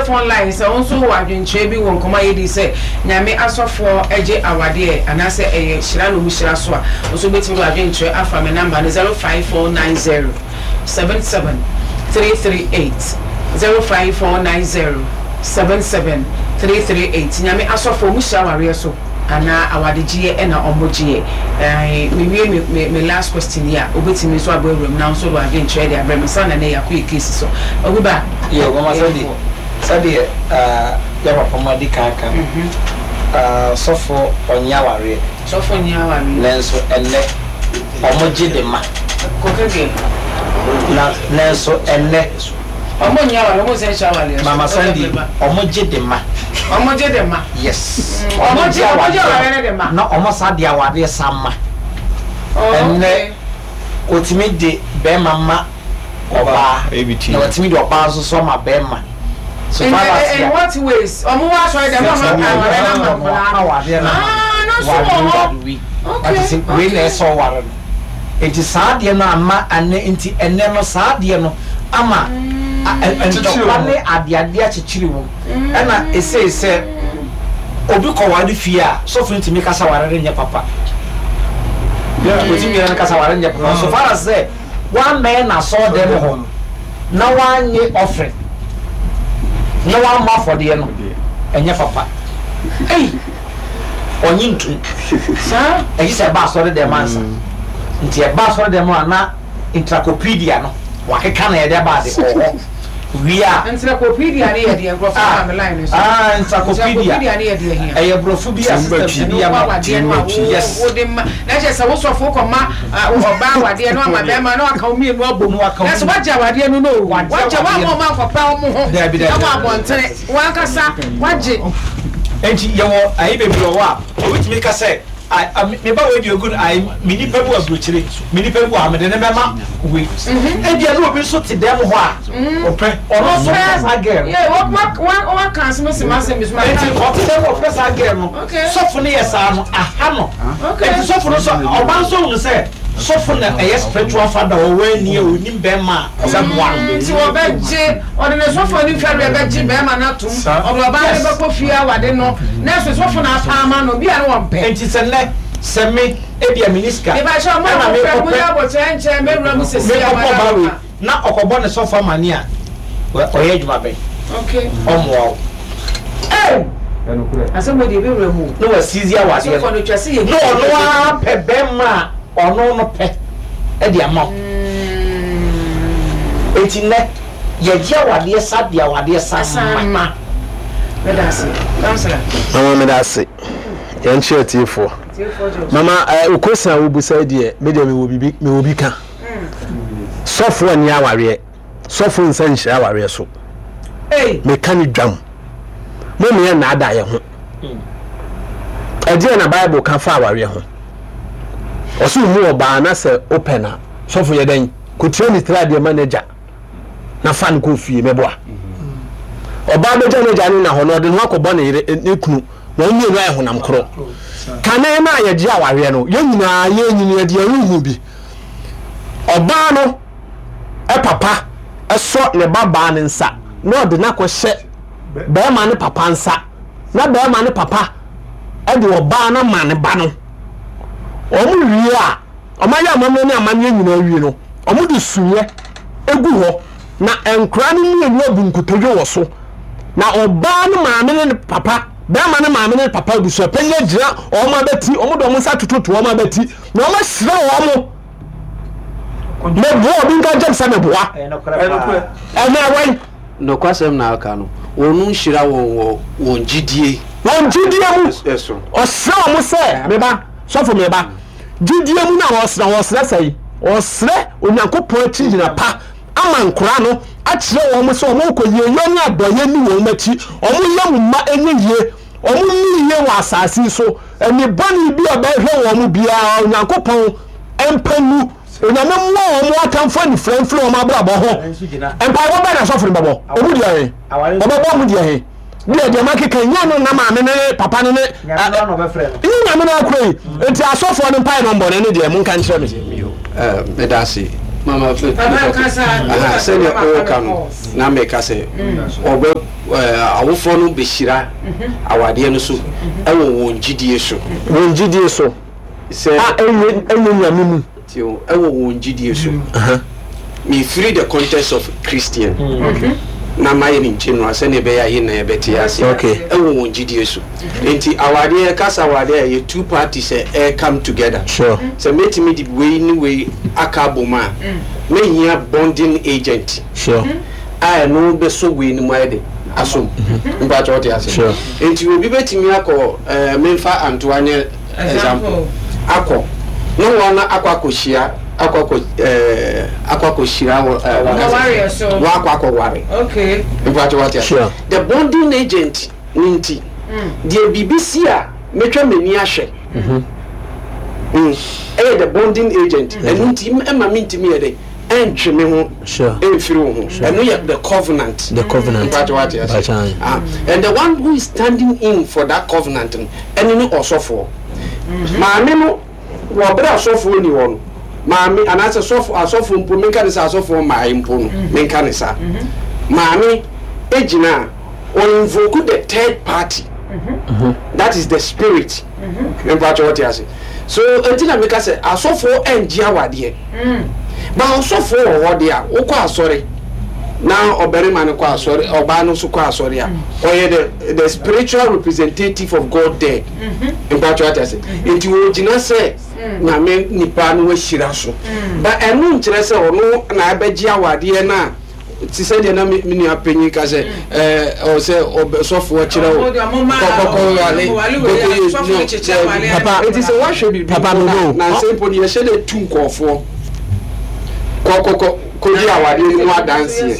Telephone line sɛ wo nso wowɔ adwenkyerɛ bi wɔ nkɔmmɔ a yɛdii sɛ Nyame asɔfoɔ gye awadeɛ anaasɛ ɛyɛ hyira na ɔmu hyira so a, wo nso wobɛtumi de w'adwenkyerɛ afa me number no 05490 77 338, 05490 77 338. Nyame asɔfoɔ ɔmu hyira awareɛ so anaa awadegyeɛ na ɔmo gyeɛ? Ae me wie me me me last question yi a wobɛtumi nso abɔ awura mu na wo nso wode w'adwenkyerɛ de abrɛ me nsa na nɛ yɛakɔ yɛ case so. Obi ba? Yo, mama sɛdeɛ sɛdeɛ ah, yɛ papa mu adi kan aka no, ah, sɔfo ɔnyɛ awareɛ. Sɔfo nyɛ awareɛ. Nanso ɛnnɛ ɔmo gye de ma. Kɔkɛ deɛ. Na nanso ɛnnɛ. Ɔmo nyɛ awareɛ, ɔmo nsa nhyɛ awareɛ so. Mama Sandy, ɔmo gye de ma. Ɔmo gye de ma. Yes. Ɔmo gye awareɛ no de ma. Na ɔmo san de awareɛ san ma. Oh, Ɛnnɛ, okay. otumi de bɛɛma ma ɔbaa, na watumi de ɔbaa nso so ama bɛɛma. So In, far as in yɛ. what ways? Ɔmo wɔ asɔre dɛm na ɔmo aka awareɛ no ama nkwadaa no. Awareɛ no ama no. Ah, no nso wɔ Ware hɔ. ware wei. Okay, Wate sɛ wei na okay. ɛsɛ ɔware no. Enti saa adeɛ no amma ɛnnɛ nti ɛnnɛ no saa adeɛ no ama ntɔkwa ne adeadeɛ akyekyere wom. Ɛna esei sɛ obi kɔware fie a sɔfo no tumi ka sɛ aware no nyɛ papa. Otumi no ka sɛ aware no nyɛ papa so far as sɛ wammɛn n'asɔɔdɛm hɔ na wannye offering na wammɔ afɔdeɛ no ɛnyɛ papa. Ei! Ɔnye ntum. Saa? Ɛgye sɛ ɛba asɔre dɛm ansa. Nti ɛba asɔre dɛm a na encyclopedia no wakeka na yɛde aba ade wɔ hɔ. Wie a. Encyclopedia no yɛ deɛ nkurɔfoɔ maa me line no so. Ah, encyclopedia. Encyclopedia no yɛ deɛ hia. Ɛyɛ borɔfo bi a system bi ama. Ɛno awadeɛ no a wo wo de ma na kyerɛ sɛ wo sɔfo kɔ ma ɔbaa awadeɛ no ama bɛrima na waka wo mmienu abom. Na sɛ wagye awadeɛ no no o. Wagye wɔn a wɔn ankɔpɛ wɔn ho ɛwɔ abɔntene. W'ankasa wagye. Enti yɛwɔ ayi bebree wɔ hɔ a obi tumi ka sɛ, Ai, a, me ba wei deɛ ogu no, ai, me nipa bi wɔ aburokyire, me nipa bi wɔ ha, mede no bɛma wei. Ebia na obi nso te dɛm hɔ a, ɔpɛ, ɔno nso pɛ saa girl no. Yeah, wa, wa, wa, waka asɛm asi m'asɛm bi so. Enti ɔte dɛm hɔ ɔpɛ saa girl no. Okay. Sɔfo no yɛ saa no, aha no. Okay. Enti sɔfo no nso, ɔba nso hunu sɛ sɔfo na ɛyɛ spiritual father, ɔwɔ ani a onim bɛrima a ɔbɛboa no. Nti wɔbɛgye, ɔde ne sɔfo anim fɛreɛ bɛgye bɛrima no atom, ɔde ɔbaa no bɛkɔ fie awade no, nanso sɔfo no apa ama no, bi a na wɔmpɛ. Nti sɛ nnɛ, sɛ me, ebia menni sika, Mepakyɛw, mo a ɛna mofrɛ, monyɛ mekɔpɛ, aboterɛ nkyɛn mɛwura mu seesei a mekɔpɛ ɔbaa wɔada wei, ɔka. na ɔkɔbɔ ne sɔfo amanneɛ a, wɛ, ɔyɛ adwuma bɛn? Okay. Ɔmmoa wo. Ei! Asɛm wei deɛ ɛbɛwura mu o. Na wasizi awadeɛ Asɔfoɔ no, no twa sɛ yɛhu na sɛ ɔno yɛbɛgye ara pɛ bɛrima a ɔno no pɛ de ama wo. Enti nnɛ, yɛgye awadeɛ sa de awadeɛ sa San ma. ma. Meda ase. Councillor. Mama meda ase. Yɛn kyerɛ tiefoɔ. Tiefoɔ gye wo so. Mama eh, wo question a wobusa yi deɛ, me deɛ mewɔ bibi, mewɔ bi ka. Sɔfoɔ nni awareɛ. Sɔfo nsa nhyira awareɛ so. Meka ne dwam. Mo mmea nnaadaa yɛn ho. Ɛdeɛ na Bible ka fa awareɛ ho. Ɔsɛ omu ɔbaa na sɛ wopɛ na sɔfo yɛ dɛn? Kɔtua ne tiri adeɛ ma n'agya na fa no kɔ fie mɛboa. Ɔbaa bɛgya n'agya ne na hɔ na ɔde ne ho akɔbɔ ne yere ne kunu na wɔn mmienu ayɛ honam korɔ. Kane no a yɛgye awareɛ no yɛn nyinaa yɛnyini yɛde yɛn ho hu bi. Ɔbaa no papa sɔ ne ba baa no nsa na ɔde no akɔhyɛ bɛrima no papa nsa na bɛrima no papa de ɔbaa no ama ne ba no. Wɔn wie a, wɔn ayɛ amammerɛ ne amanneɛ nyinaa wie no, wɔn de suiɛ egu hɔ na nkora no mmienu abu nkotodwe wɔ so na ɔbaa no maame ne ne papa bɛrima no maame ne ne papa abusuapanyin agyina wɔn abati, wɔn de wɔn nsa atototo wɔn abati na wɔn ahyira wɔn. Meboa obi nka nkyɛm sɛ meboa. Ɛnɛ wɛn. Nokwasɛm na aka no, wɔn nhyira wɔn wɔ wɔn gyidie. Wɔn gyidie mu. So. Ɔsrɛ wɔn sɛ, meba, sɔfo meba. Gyidie mu na ɔsrɛ, ɔsrɛ sɛe. Ɔsrɛ Onyankopɔn akyi gyina pa ama nkora no akyerɛ wɔn sɛ wɔn kɔ yieyɔ ne adɔyɛ ni wɔn akyi. Wɔn yɛ mu mma ɛnyɛ yie. Wɔn nni yie wɔ asase yi so. Ani bɔne bi a ɛbɛhwɛ wɔn biara, Onyankopɔn mpa ngu. Onyame mmoa wɔn atamfo anifira mfiri wɔn abrabɔ ho. Mpaebɔ bɛn na asɔfo no bɛbɔ? Ɔmo deɛ he? Ɔbɛbɔ ɔmo deɛ he? Deɛ deɛ makeka yi, nyɛ no na maame no ne papa no ne nyɛ Nyame no akora yi. Nti asɔfoɔ no mpae no mbɔ no ɛne deɛ monka nkyerɛ me. Meda ase mama sɛdeɛ ɔka no na meka sɛ ɔbɛ. Awofoɔ no bɛhyira awadeɛ no so wɔ wɔn gyidie so. Wɔn gyidie so. Sɛ. A ɛnyɛ ɛnyɛ Nyame mu. Tie o, ɛwɔ wɔn gyidie so. Mefiri the context of Christian na mayɛ no general sɛdeɛ ɛbɛyɛ a yɛn nyinaa yɛbɛte aseɛ. Okay. Ɛwɔ wɔn gyidie so. Nti awadeɛ, yɛka sɛ awadeɛ a, ɛyɛ two parties a ɛre come together. Sure. Sɛ mɛtumi de wei ne wei aka abom a, mɛhia bonding agent. Sure. A ɛno bɛsɔ wei no mu ayɛ de asom. Mpakyɛ wote aseɛ? Sure. Nti obi bɛtumi akɔ ɛɛ memfa Antoa nyɛ example akɔ ne wɔn akɔ akɔhyia akɔ akɔ ɛɛ akɔ akɔhyira wɔ ɛɛ wɔn so wɔn akɔ akɔware. Okay. Mpakyɛ wote aseɛ? Sure. The bonding agent ne nti deɛ biribi si a mɛtwa m'ani ahwɛ. Ɛyɛ the bonding agent ɛno nti ɛma mentumi yɛ dɛ. Ɛntwe me ho ɛmfiri wo ho. Ɛno yɛ the covenant. The covenant. Mpakyɛ wate ase. Ah, and the one who is standing in for that covenant no, ɛne ne ɔsɔfoɔ. Maame no, wɔ berɛ a sɔfoɔ ni hɔ no, maame anaasɛ sɔfo asɔfoɔ mpo, menka ne sɛ asɔfoɔ mmae mpo no, menka ne saa. Maame egyina a, ɔ invoke the third party. That is the spirit. Mpakyɛ wate ase. So enti na meka sɛ asɔfoɔ ɛngye awadeɛ. Ba ɔsɔfoɔ wɔ hɔ deɛ a, wokɔ asɔre na ɔbarima no kɔ asɔre, ɔbaa no nso kɔ asɔre a, ɔyɛ the the spiritual representative of God there. Mpakyɛ wate ase. Nti ɔgyina sɛ Nyame nipa no wahyira so. Ba ɛno nkyerɛ sɛ ɔno na ɛbɛgye awadeɛ no a Te sɛ deɛ na me nua panyin ka sɛ ɛɛ ɔ sɛ ɔbɛ sɔfoɔ kyerɛ wo kɔkɔkɔ wale kɔkɔ yɛ no Papa eti sɛ wahwɛ biribi papa mpo no na no. nansa mpo no yɛhyɛ dɛ tu nkɔɔfoɔ kɔkɔkɔ kɔdi awadeɛ no mu adanseɛ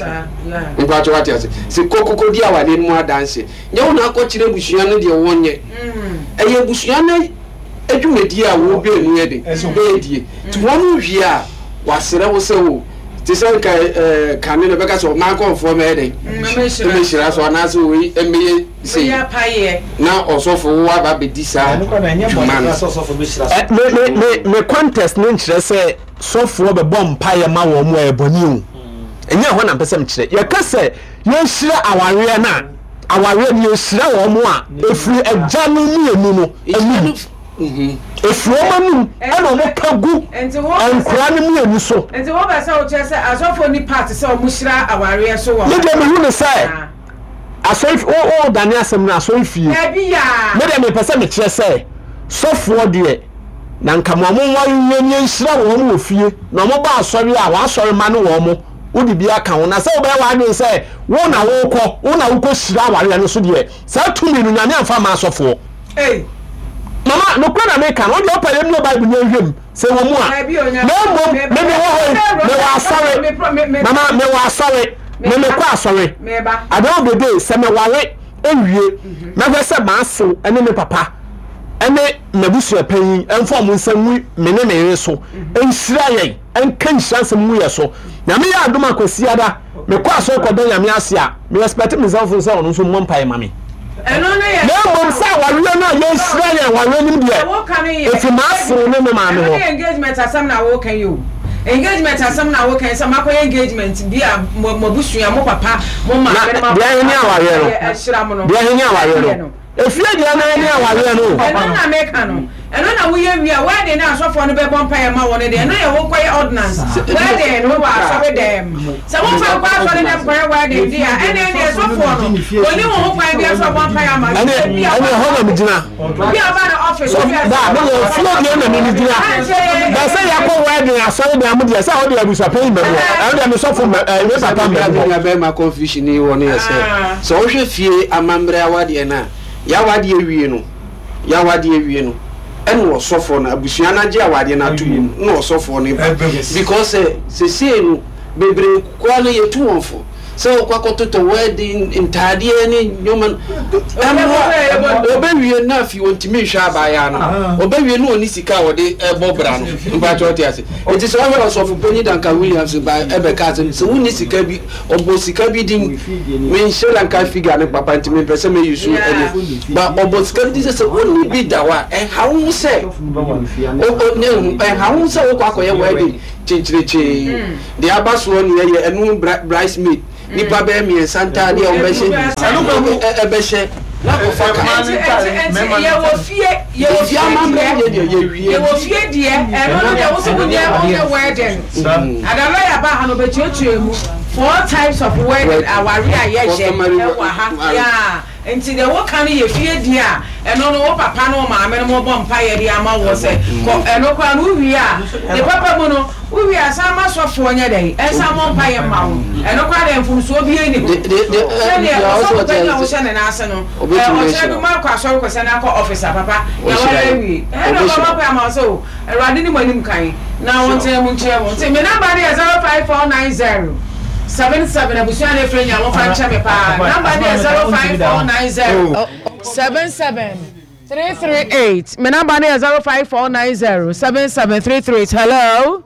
mpakyɛ wate ase sɛ kɔkɔkɔ di awadeɛ no mu adanseɛ nyɛ wo na akɔkyerɛ abusua no deɛ wɔnyɛ ɛyɛ abusua no dwumadie a wo baanu yɛ den ɛredie nti wɔn wie a wasrɛ wo sɛ o te sɛ nka ɛɛ kane no bɛka sɛ ɔman kɔnfoɔ mɛyɛ den mmɛhyira so anaasɛ wei mmɛyɛ sei na ɔsɔfo wo aba bɛdi saa dwuma no. Me me me me contest no nkyerɛ sɛ sɔfoɔ bɛbɔ mpaeɛ ma wɔn a ɛyɛ bɔne o. Ɛnyɛ ɛhɔ na mpɛ sɛ mekyerɛ. Yɛka sɛ yɛnhyira awareɛ no a, awareɛ no yɛhyira wɔn a ɛfiri agya no mmienu no anum. Ɛfiri wɔn anum ɛna wɔn ka gu nkora no mmienu so. Nti wopɛ sɛ wokyerɛ sɛ asɔfoɔ ni part sɛ wɔn hyira awareɛ so wɔ. Me deɛ mehu ne sɛ asɔre o o dane asɛm no asɔre fie. Dabi yaa. Me deɛ mepɛ sɛ mekyerɛ sɛ sɔfoɔ deɛ na nka ma wɔn nware nwie ne yɛnhyira wɔn wɔ fie na wɔn ba asɔre a wɔn asɔre ma ne wɔn wode bi aka ho na sɛ wobɛyɛ w'adwene sɛ wo na wokɔ wo na wokɔ hyira awareɛ no so deɛ saa tumi no Nyame amfa amma asɔfoɔ. Mama nokorɛ na meka no wodeɛ wopɛ yɛmmue Bible no yɛnhwɛ mu sɛ ɛwɔ mu a na mmom me mewɔ hɔ yi mewɔ asɔre mama mewɔ asɔre me mekɔ asɔre at the end of the day sɛ meware ewie mɛhwɛ sɛ m'asew ne me papa ne m'abusuapanyin mfa wɔn nsa ngu me ne me yere so nhyira yɛn nka nhyira nsɛm ngu yɛ so. Nyame yɛ adom a Kwasiada mekɔ asɔre kɔda Nyame ase a, me expect me nsɛmfo sɛ ɔno nso mmɔ mpaeɛ ma me. Na mmom sɛ awareɛ no a yɛnhyira yɛn awareɛ no mu deɛ, ɛfiri m'asew ne me maame hɔ. Ɛno ne engagement asɛm na woka yi o. Engagement asɛm na woka yi sɛ moakɔyɛ engagement bi a mo abusua, mo papa, mo maame ne mo Na deɛ he ne awareɛ no? ahyira mo no. Deɛ he ne awareɛ no? Efie deɛ no ne awareɛ no o. Ɛno na meka no. Ɛno na woyɛ wie a, wedding no a asɔfoɔ no bɛbɔ mpaeɛ ma wo no deɛ, ɛno yɛ wokɔyɛ ordinance. Wedding no wɔ asɔre dɛm. Sɛ womfa nkɔ asɔre dɛm kɔyɛ wedding deɛ a, ɛnneɛ deɛ sɔfoɔ no, ɔnni wo ho kwan biara sɛ ɔbɔ mpaeɛ ama wo. Ɛne ɛne ɛhɔ na megyina. Obi a ɔba no office. So da me deɛ efie deɛ na me megyina. Bɛ sɛ yɛakɔ wedding asɔre dɛm deɛ sɛ ɛhɔ deɛ abusuapanyin mma mu hɔ. Ɛno deɛ me sɔfo mma ɛɛ me papa mma mu hɔ. Sɛ bɛrima confusion yi wɔ no yɛ sɛ, sɛ wohwɛ fie amammerɛ awadeɛ no a, yɛawadeɛ wie no, yɛawadeɛ wie no, ɛna ɔsɔfoɔ no, abusua no agye awadeɛ no ato mu no, na ɔsɔfoɔ no ba. Because sɛ sesei no, bebree koraa no yɛtu wɔn fo sɛ wɔkɔ akɔtotɔ wedding ntaadeɛ ne nneɛma no, ɛmmoa. Ɔbɛwie no afei ɔntumi nhwɛ abaayaa no, ɔbɛwie no ɔnni sika a ɔde bɔ bra no. Mpakyɛ wote ase? Enti sɛ wohwɛ Ɔsɔfo Panyin Duncan Williams ba ɛbɛka asɛm sɛ wonni sika bi, ɔbɔ sika bi din, menhyɛ da nka figure no papa nti mempɛ sɛ me use ɛne, ba ɔbɔ sika bi din sɛ sɛ wonni bi da hɔ a, ɛnha wo ho sɛ, ɛnha wo ho sɛ wokɔ akɔyɛ wedding kyenkyerekyee, deɛ aba soɔ ne yɛyɛ, ɛno bridesmaid. Nnipa bɛyɛ mmiɛnsa ntaade a wɔbɛhyɛ ɛbɛhyɛ na akɔfa ka. Nti yɛwɔ fie yɛwɔ fie deɛ yɛwɔ fie deɛ ɛno no deɛ wosɛ wonyɛ wonyɛ wedding ada lɔya ba ha no ɔbɛkyerɛkyerɛ mu four types of wedding aware a yɛyɛ ɛwɔ ha yaa. Nti deɛ woka no yɛ fie deɛ a, ɛno no wo papa ne wo maame no mobɔ mpaeɛ de ama woɔ sɛ kɔ, ɛno koraa no wowie a, ne papa mu no, wowie a san ma sɔfoɔ nyɛ dɛn, nsan mmɔ mpaeɛ mma wo, ɛno koraa deɛ mfomsoɔ biara nni ho. Sɛdeɛ ɔsɔfo panin a wohyɛ ne nan ase no, ɔkyena bi moakɔ asɔre kɔsɛ no akɔ office a, papa, yɛaware awie, ɛna ɔbɛbɔ mpaeɛ ama wo sɛ o, Awurade ne mo anim kan na ɔntena mu nkyerɛ mo. Nti me number no yɛ 05490 77 abusua na efrɛ nyinaa momfa nkyɛ me paa. Number no yɛ 05490 77 338. Me number no yɛ 05490 77 338. Hello.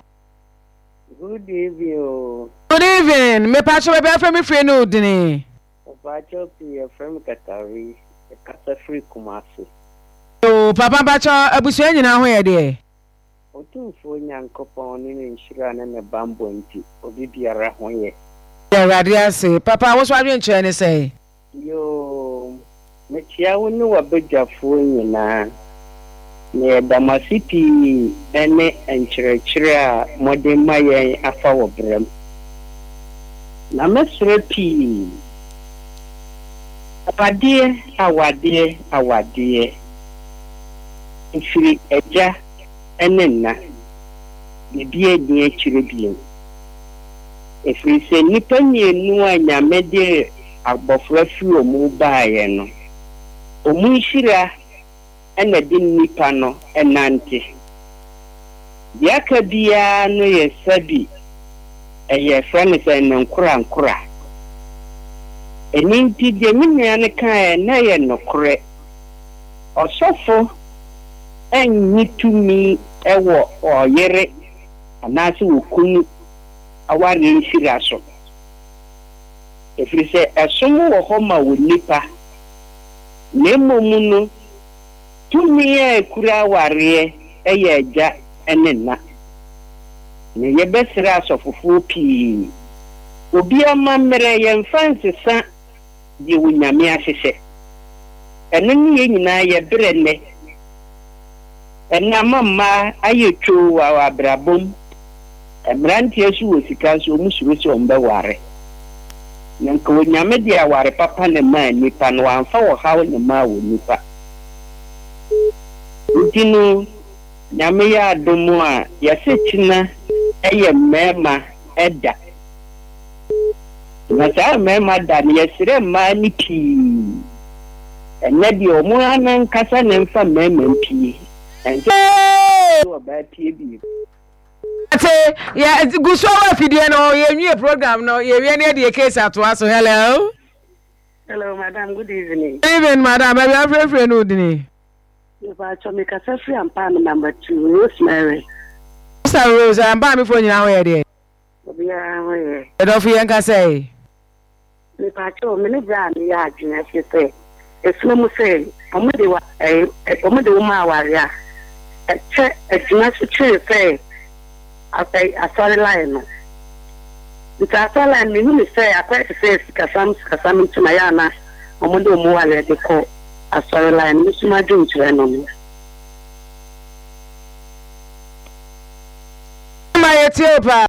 Good evening o. Good evening. Me pacho baabi afrɛ me firi ne odini. Mpakyɛw pii yɛfrɛ me Katari, mekasa firi Kumasi. Yoo papa mpakyɛw abusua nyinaa ho yɛ deɛ? Otumfoɔ Nyankopɔn ne ne nhyira ne ne banbɔ nti obi biara ho yɛ. Yɛda Awurade ase. Papa wo nso adwenkyerɛ ne sɛn? Yoo, mekyea wo ne w'abadwafoɔ nyinaa, na yɛda mo ase pii ne nkyerɛkyerɛ a mode ma yɛn afa wɔ brɛ mu. Na mɛsrɛ pii, awadeɛ, awadeɛ, awadeɛ, ɛfiri agya ne nna, biribiara nni akyire bio. Ɛfiri sɛ nnipa mmienu a Nyame de abɔfra firi wɔn mu baeɛ no, wɔn nhyira na ɛde nnipa no nante. Deɛ aka biara no yɛ sɛbi ɛyɛ frɛ no sɛ ne nkorankora. Ɛno nti deɛ me nua no kaeɛ no ɛyɛ nokorɛ. Ɔsɔfo nnye tumi wɔ ɔyere anaasɛ okunu awareɛ nhyira so. Ɛfiri sɛ ɛsom wɔ hɔ ma onipa, na mmom no tumi a ɛkura awareɛ yɛ agya ne na. Na yɛbɛsrɛ asɔfofoɔ pii, obi amammerɛ yɛmfa nsesa deɛ Onyame ahyehyɛ. Ɛno ne yɛn nyinaa yɛ berɛ nnɛ. Ɛnnɛ ama mmaa ayɛ twoo wɔ abrabɔ mu. Mmeranteɛ nso wɔ sika nso wɔn suro sɛ wɔn bɛware. Na nka Onyame de aware papa na ɛmaa nnipa na wamfa ɔhaw na ɛmaa onipa. Nti no Nyame yɛ adom a yɛse kyena yɛ mmarima da. Na saa mmarima da no yɛsrɛ mmaa no pii. Ɛnnɛ deɛ wɔn ara ankasa na ɛmfa mmarima mpie. Ɛnsɛ sɛ ɔbaa pie bio. Ate yɛ gu so wɔ afidie no yɛ nwie program no yɛ wie ne yɛ de yɛ case atoa so hello. Hello madam good evening. Good evening madam baabi afrɛfrɛ no odini. Mepaatwɔ me kasa firi Ampaame number two Rosemary. Sister Rose Ampaame foɔ nyinaa ho yɛ deɛ. Obiara ho yɛ. Yɛdɔfo yɛn kasa yi. Mepakyɛw, me ne bra no yɛ adwene efisɛ ɛsono mu sɛ wɔde wa ɛɛ wɔde wo ma aware a, ɛkyɛ agyina so kyɛn sɛ asɛ asɔre line no. Nti asɔre line no mehu no sɛ akɔyɛ te sɛ sikasɛm sikasɛm nti na ɛyɛ a na wɔde wɔn wareɛ de kɔ asɔre line no. Me nso m'adwenkyerɛ no no. Ma yɛtie wo paa.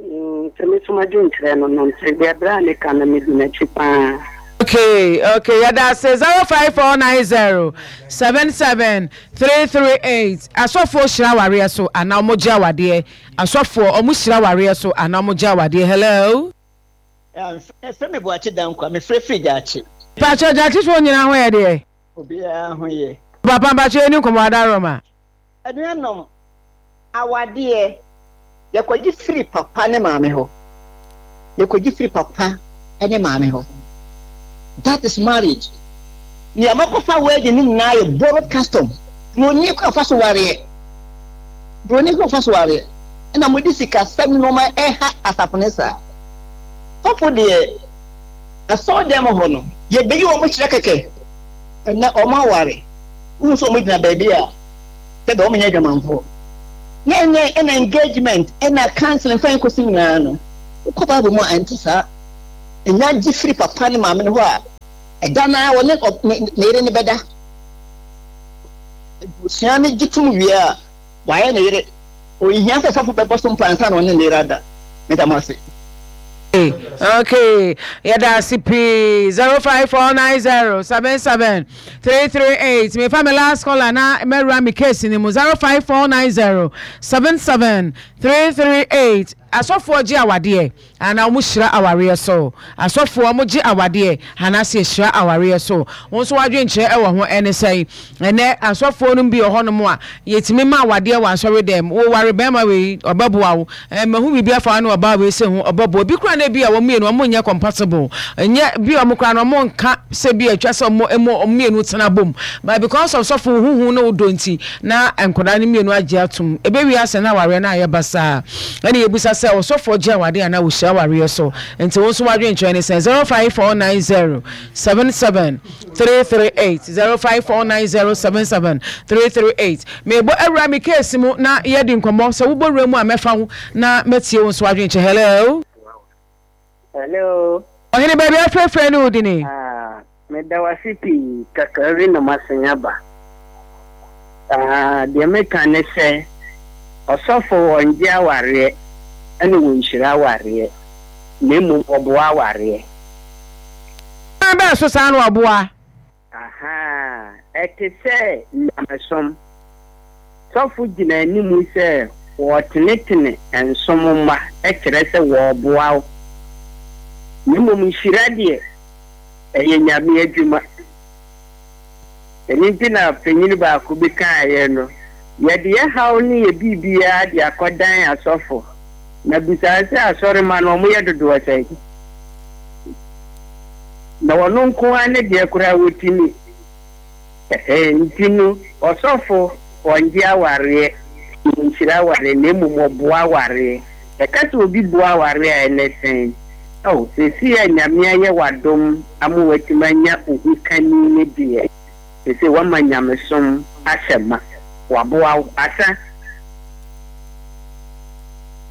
Nti me nso m'adwenkyerɛ no no nti deɛ berɛ a meka no medi n'akyi paa. Okay okay yɛda ase 05490 77338 asɔfoɔ hyira awareɛ so anaa ɔmo gye awadeɛ asɔfoɔ ɔmo hyira awareɛ so anaa ɔmo gye awadeɛ hello. Yɛfrɛ me Boakye Dankwa, mefrɛ firi Gyaakye. Mpakyɛ Gyaakyefoɔ nyinaa ho yɛ deɛ? Obiara ho yɛ. Papa mpakyɛ yɛni nkɔmmɔ adaworoma. Anuanom, awadeɛ, yɛkɔgye firi papa ne maame hɔ. Yɛkɔgye firi papa ne maame hɔ. That is marriage. Nea makɔfa wedding no nyinaa yɛ borrowed custom. Buroni kwan fa so wareɛ. Buroni kwan fa so wareɛ. Ɛna mode sikasɛm ne nneɛma ɛha asafo no saa. Sɔfo deɛ, asɔredan mu hɔ no, yɛbɛyi wɔn kyerɛ kɛkɛ. Ɛnɛ wɔn aware. Wohu sɛ wɔn gyina baabi a sɛdeɛ wɔn nyɛ adwamanfoɔ. Na ɛnɛ ɛna engagement ɛna counseling fɛn kɔsi nyinaa no, wokɔ Bible mu a ɛnte saa. nya gye firi papa ne maame no hɔ a, ɛda no ara ɔne ne yere no bɛda. Abusua no gye tom wie a, wayɛ ne yere. Onhia sɛ sɔfo bɛbɔ so mpae ansa na ɔne ne yere ada. Meda mo ase. Okay, yɛda ase pii. 05490 77 338. Mefa me last caller na mɛwura me case no mu. 05490 77 338. Asɔfoɔ gye awadeɛ anaa wɔn hyira awareɛ so? Asɔfoɔ wɔn gye awadeɛ anaasɛ yɛhyira awareɛ so? Wo nso w'adwenkyerɛ ɛwɔ ho ɛne sɛn? Ɛnɛ asɔfoɔ nom bi wɔ hɔ nom a yɛtumi ma awadeɛ wɔ asɔre dɛm. Wo ware bɛɛma wei ɔbɛboa wo. Ɛɛ mahu biribi afa wo ne ɔbaa wei sei ho ɔbɛboa. Ebi koraa na ebi a wɔn mmienu wɔn nyɛ compatible. Ɛnyɛ bi a wɔn koraa no wɔn nka sɛ bi a atwa sɛ wɔn ɛmu wɔn mmienu tena bom. But because of sɔfo wo ho hu ne wo dɔ nti na nkwadaa no mmienu agye atom. Ɛbɛwie asɛ na awareɛ no ayɛ basaa. Ɛna yɛbisa sɛ ɔsɔfoɔ gye awadeɛ anaa ɔhyira awareɛ so? Nti wo nso w'adwenkyerɛ ne sɛn? 05490 77 338 054907 338 Mebɔ awura me case mu na yɛadi nkɔmmɔ sɛ wobɔ wura mu a mɛfa wo na matie wo nso adwenkyɛ hello. Hello. Ɔhene baabi afrɛfrɛ ne wo dini. Ah, meda wo ase pii kakra bi na masan aba. Ah, deɛ meka ne sɛ ɔsɔfo ɔngye awareɛ ɛna wɔnhyira awareɛ na mmom ɔboa awareɛ. Kwan bɛn so saa na ɔboa? Ahaa, ɛte sɛ nyamesom. Sɔfo gyina anim sɛ wɔretenetene nsom mma, kyerɛ sɛ wɔreboa wo. Na mmom nhyira deɛ, ɛyɛ Nyame adwuma. Ɛno nti na panyin baako bi kaeɛ no, yɛde yɛn haw ne yɛn biribiara de akɔdan asɔfo. Na bisa sɛ asɔremma no wɔyɛ dodoɔ sɛn? Na ɔno nko ara ne deɛ koraa wɔtumi. Ɛhɛɛ, nti no ɔsɔfo ɔngye awareɛ, ɔnhyira awareɛ na mmom ɔboa awareɛ. Yɛka sɛ obi boa awareɛ a ɛnɛ sɛn? Ao, seesei a Nyame ayɛ wo adom ama woatumi anya wo ho kani no deɛ, seesei woama nyamesom ahyɛ ma. Waboa wo. Asa.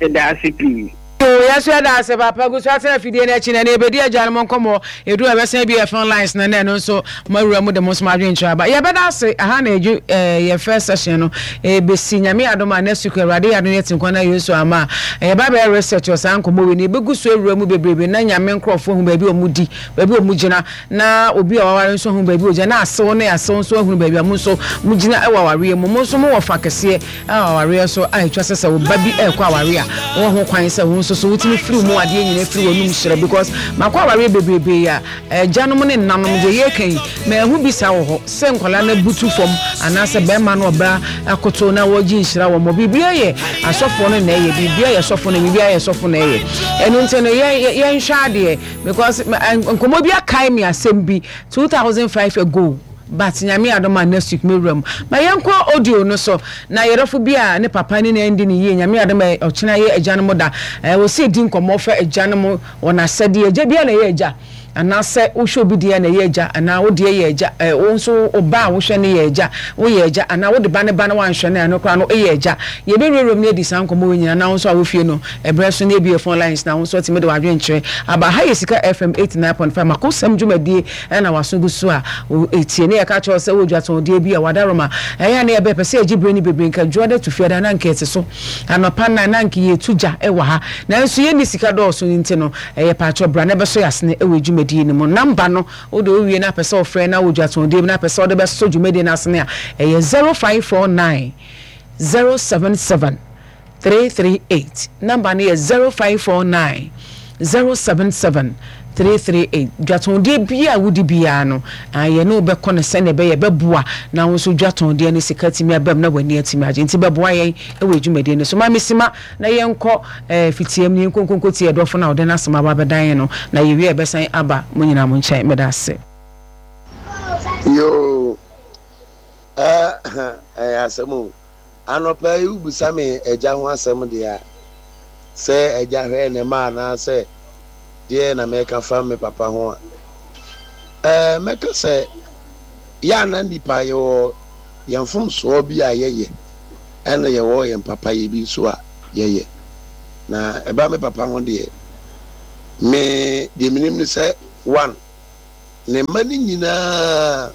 Meda ase pii. Yoo yɛn nso yɛda ase papa gu so atena afidie no akyi na ɛnɛ yɛbɛdi agyanom nkɔmmɔ ɛduru a yɛbɛsan abue yɛn phone lines no na ɛno nso moawura mu de mo nso mo adwenkyerɛ aba yɛbɛda ase aha na yɛdwu eh, yɛn first session no ɛbɛsi nyame adom a next week awurade yɛ adom yɛte nkwa na yesu ama a yɛba bɛyɛ research wɔ saa nkɔmmɔ wei no yɛbɛgu so awura mu bebrebe na nyame nkurɔfoɔ hu baabi a wɔn di baabi a wɔn gyina na obi a waware nso ahu baabi a ɔgyina na asew ne asew nso ahunu baabi a mo nso mo gyina wɔ awareɛ mu mo nso mo wɔ fa kɛseɛ A Awareɛ nso a ɛtwa sɛ sɛ wo ba bi rekɔ awareɛ a wowɔ ho kwan sɛ wo nso so wotumi firi mu adeɛ nyinaa firi w'anum hyerɛ because makɔ awareɛ bebrebee a agyanom ne nnanom deɛ yɛreka yi manhu bi saa wɔ hɔ sɛ nkwadaa no abutu fam anaasɛ bɛrima no ɔbaa akoto na wɔregye nhyira wɔ mɔ biribiara yɛ asɔfoɔ no na ɛyɛ biribiara yɛ sɔfo no biribiara yɛ sɔfo na ɛyɛ ɛno nti no yɛnhwɛ adeɛ because nkɔmmɔ bi akae me asɛm bi 2005 ago But Nyame adom a next week mɛwura mu. Ma yɛnkɔ audio no so na yɛdɔfo bi a ne papa ne no andi no yie Nyame adom a ɔkyena yɛ agyanom da eh, wɔsi ɛdi nkɔmmɔ fa agyanom wɔn asɛdeɛ. Agya biara na ɛyɛ agya anaasɛ wohwɛ obi deɛ na ɛyɛ agya anaa wo deɛ yɛ agya eh, wo nso wo ba a wohwɛ no yɛ agya woyɛ agya anaa wode ba ne ba na woanhwɛ no a ɛno koraa no woyɛ agya. Yɛbɛwurawura mu na yɛadi saa nkɔmmɔ wei nyinaa na wo nso a wɔ fie no ɛberɛ so na yɛbue phone lines na wo nso atumi de w'adwenkyerɛ aba. Ha yɛ Sika FM 89.5 Makosɛm dwumadie Ɛna w'aso gu so a wotie. Ne yɛka kyerɛ wo sɛ wowɔ dwatɔndeɛ bi a w'adaworoma ɛyɛ a na yɛbɛ pɛ sɛ yɛgye berɛ no bebree nka dwoada tu fiada na anka yɛte so anɔpa nnan na anka yɛtu gya wɔ ha nanso yɛnni sika dɔɔso no nti no ɛyɛ paatwɔ bra na bɛsɔ yɛasene wɔ dwumadie no mu number no wode wowie na apɛ sɛ wofrɛ na wɔ dwatɔndeɛ bi na apɛ sɛ wode bɛsɔ dwumadie no asene a ɛyɛ 0549 077 338. Number no yɛ 0549 077 338. Dwatɔndeɛ biara a wodi biara no, ah, yɛne wo bɛkɔ no sɛnea ɛbɛyɛ ɛbɛboa na wo nso dwatɔndeɛ no sika atumi aba mu na w'ani atumi agye. Nti bɛboa yɛn wɔ dwumadie no so. Ma me sima na yɛnkɔ eh, fitiam na yɛnkɔ nkonkotie ɛdɔfo no a ɔde n'asɛm aba abɛdan yɛn no, na yɛwie a yɛbɛsan aba mo nyinaa mo nkyɛn. Meda ase. Yoo, eh, ɛyɛ asɛm o. Anɔpa yi wobisa me agya ho asɛm deɛ a, sɛ agya hwɛ ne mma anaasɛ deɛ na mɛka fa me papa ho a, ɛɛ mɛka sɛ yɛ a na nnipa yɛwɔ yɛn mfomsoɔ bi a yɛyɛ ɛna yɛwɔ yɛn papayɛ bi nso a yɛyɛ. Na ɛba me papa ho deɛ, Me deɛ menim ne sɛ one, ne mma no nyinaa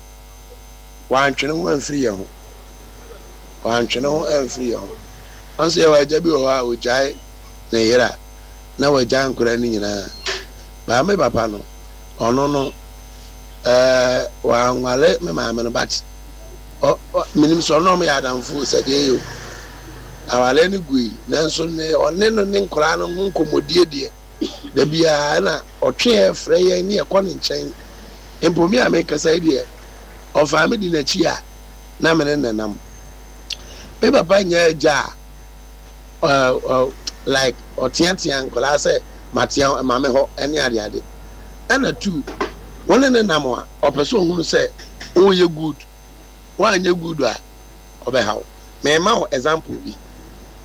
wantwe ne ho amfiri yɛn ho. Wantwe ne ho amfiri yɛn ho. Ɔn sɛ yɛwɔ agya bi wɔ hɔ a ɔgyae ne yere a na wagyae nkwadaa no nyinaa. Baa me papa no, ɔno no ɛɛ wanware me maame no but ɔ ɔ menim sɛ ɔno ɔmo yɛ adamfo sɛ deɛ ɛyɛ o. Awareɛ no gui nanso ne ɔne no ne nkwadaa no ho nkɔmmɔdie deɛ da biara na ɔtwe yɛn frɛ yɛn ne yɛkɔ ne nkyɛn. Mpo me a mekasa yi deɛ ɔfaa me di n'akyi a na me ne no nam. Me papa nyɛ agya a ɔ ɔ like ɔteatea nkwadaa sɛ matea ma me hɔ ne adeade. Ɛna two, wo ne no nam a ɔpɛ sɛ ɔhunu sɛ woyɛ good. Woanyɛ good a ɔbɛha wo. Mema wo example bi.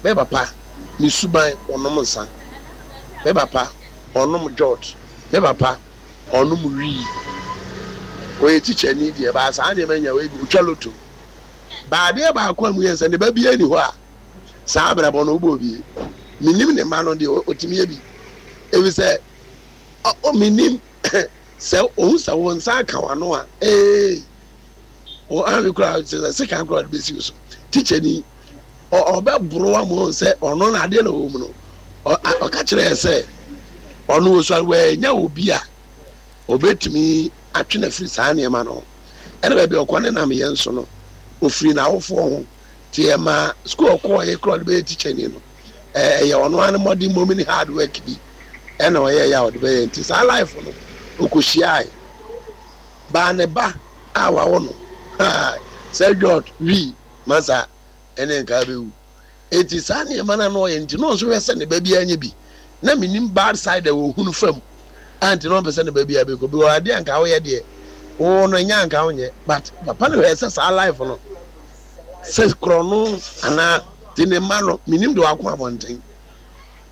Me papa ne suban ɔnom nsa. Me papa ɔnom jot. Me papa ɔnom wii. Ɔyɛ tikyani deɛ but saa nneɛma nyinaa ɔyɛ bi. Ɔtwa lotto. But adeɛ baako a mu yɛ sɛ ne ba biara nni hɔ a saa abrabɔ no wobɔ bi. Menim ne mma no deɛ ɔtumi yɛ bi. Efisɛ menim sɛ ɔhu sɛ wo nsa aka w'ano a ee. Ɔanhwɛ koraa kyerɛ sɛ sekan koraa ɔde bɛsi wo so. Tikyani ɔbɛboro ama ɔhu sɛ ɔno na adeɛ na ɔwɔ mu no. Ɔka kyerɛ yɛ sɛ ɔno ɔsua wɔanya obi a ɔbɛtumi atwe no afiri saa nneɛma no ho. Ɛna baabi a ɔkɔ ne nam yɛ nso no, ɔfiri n'awofoɔ ho. Nti ɛma sukuu ɔkɔɔyɛ koraa ɔde bɛyɛ tikyani no, ɛyɛ ɔno ara ne mmɔden mmom ne hard work bi ɛna ɔyɛeɛ a ɔde bɛyɛ. Nti saa life no ɔkɔhyiae. Baa ne ba a wawo no haa sɛ dwɔt wii masa ɛne nka abɛwu. Enti saa nneɛma no a na ɔyɛ nti na ɔnso hwɛ sɛ ne ba biara nyɛ bi. Na menim bad side a wɔhunu fa mu a nti na ɔmpɛ sɛ ne ba biara bɛkɔ because adeɛ a nka woyɛ deɛ wo no ɛnyɛ a nka wonyɛ but papa no hwɛɛ sɛ saa life no sɛ korɔno anaa nti ne mma no menim deɛ wako abɔnten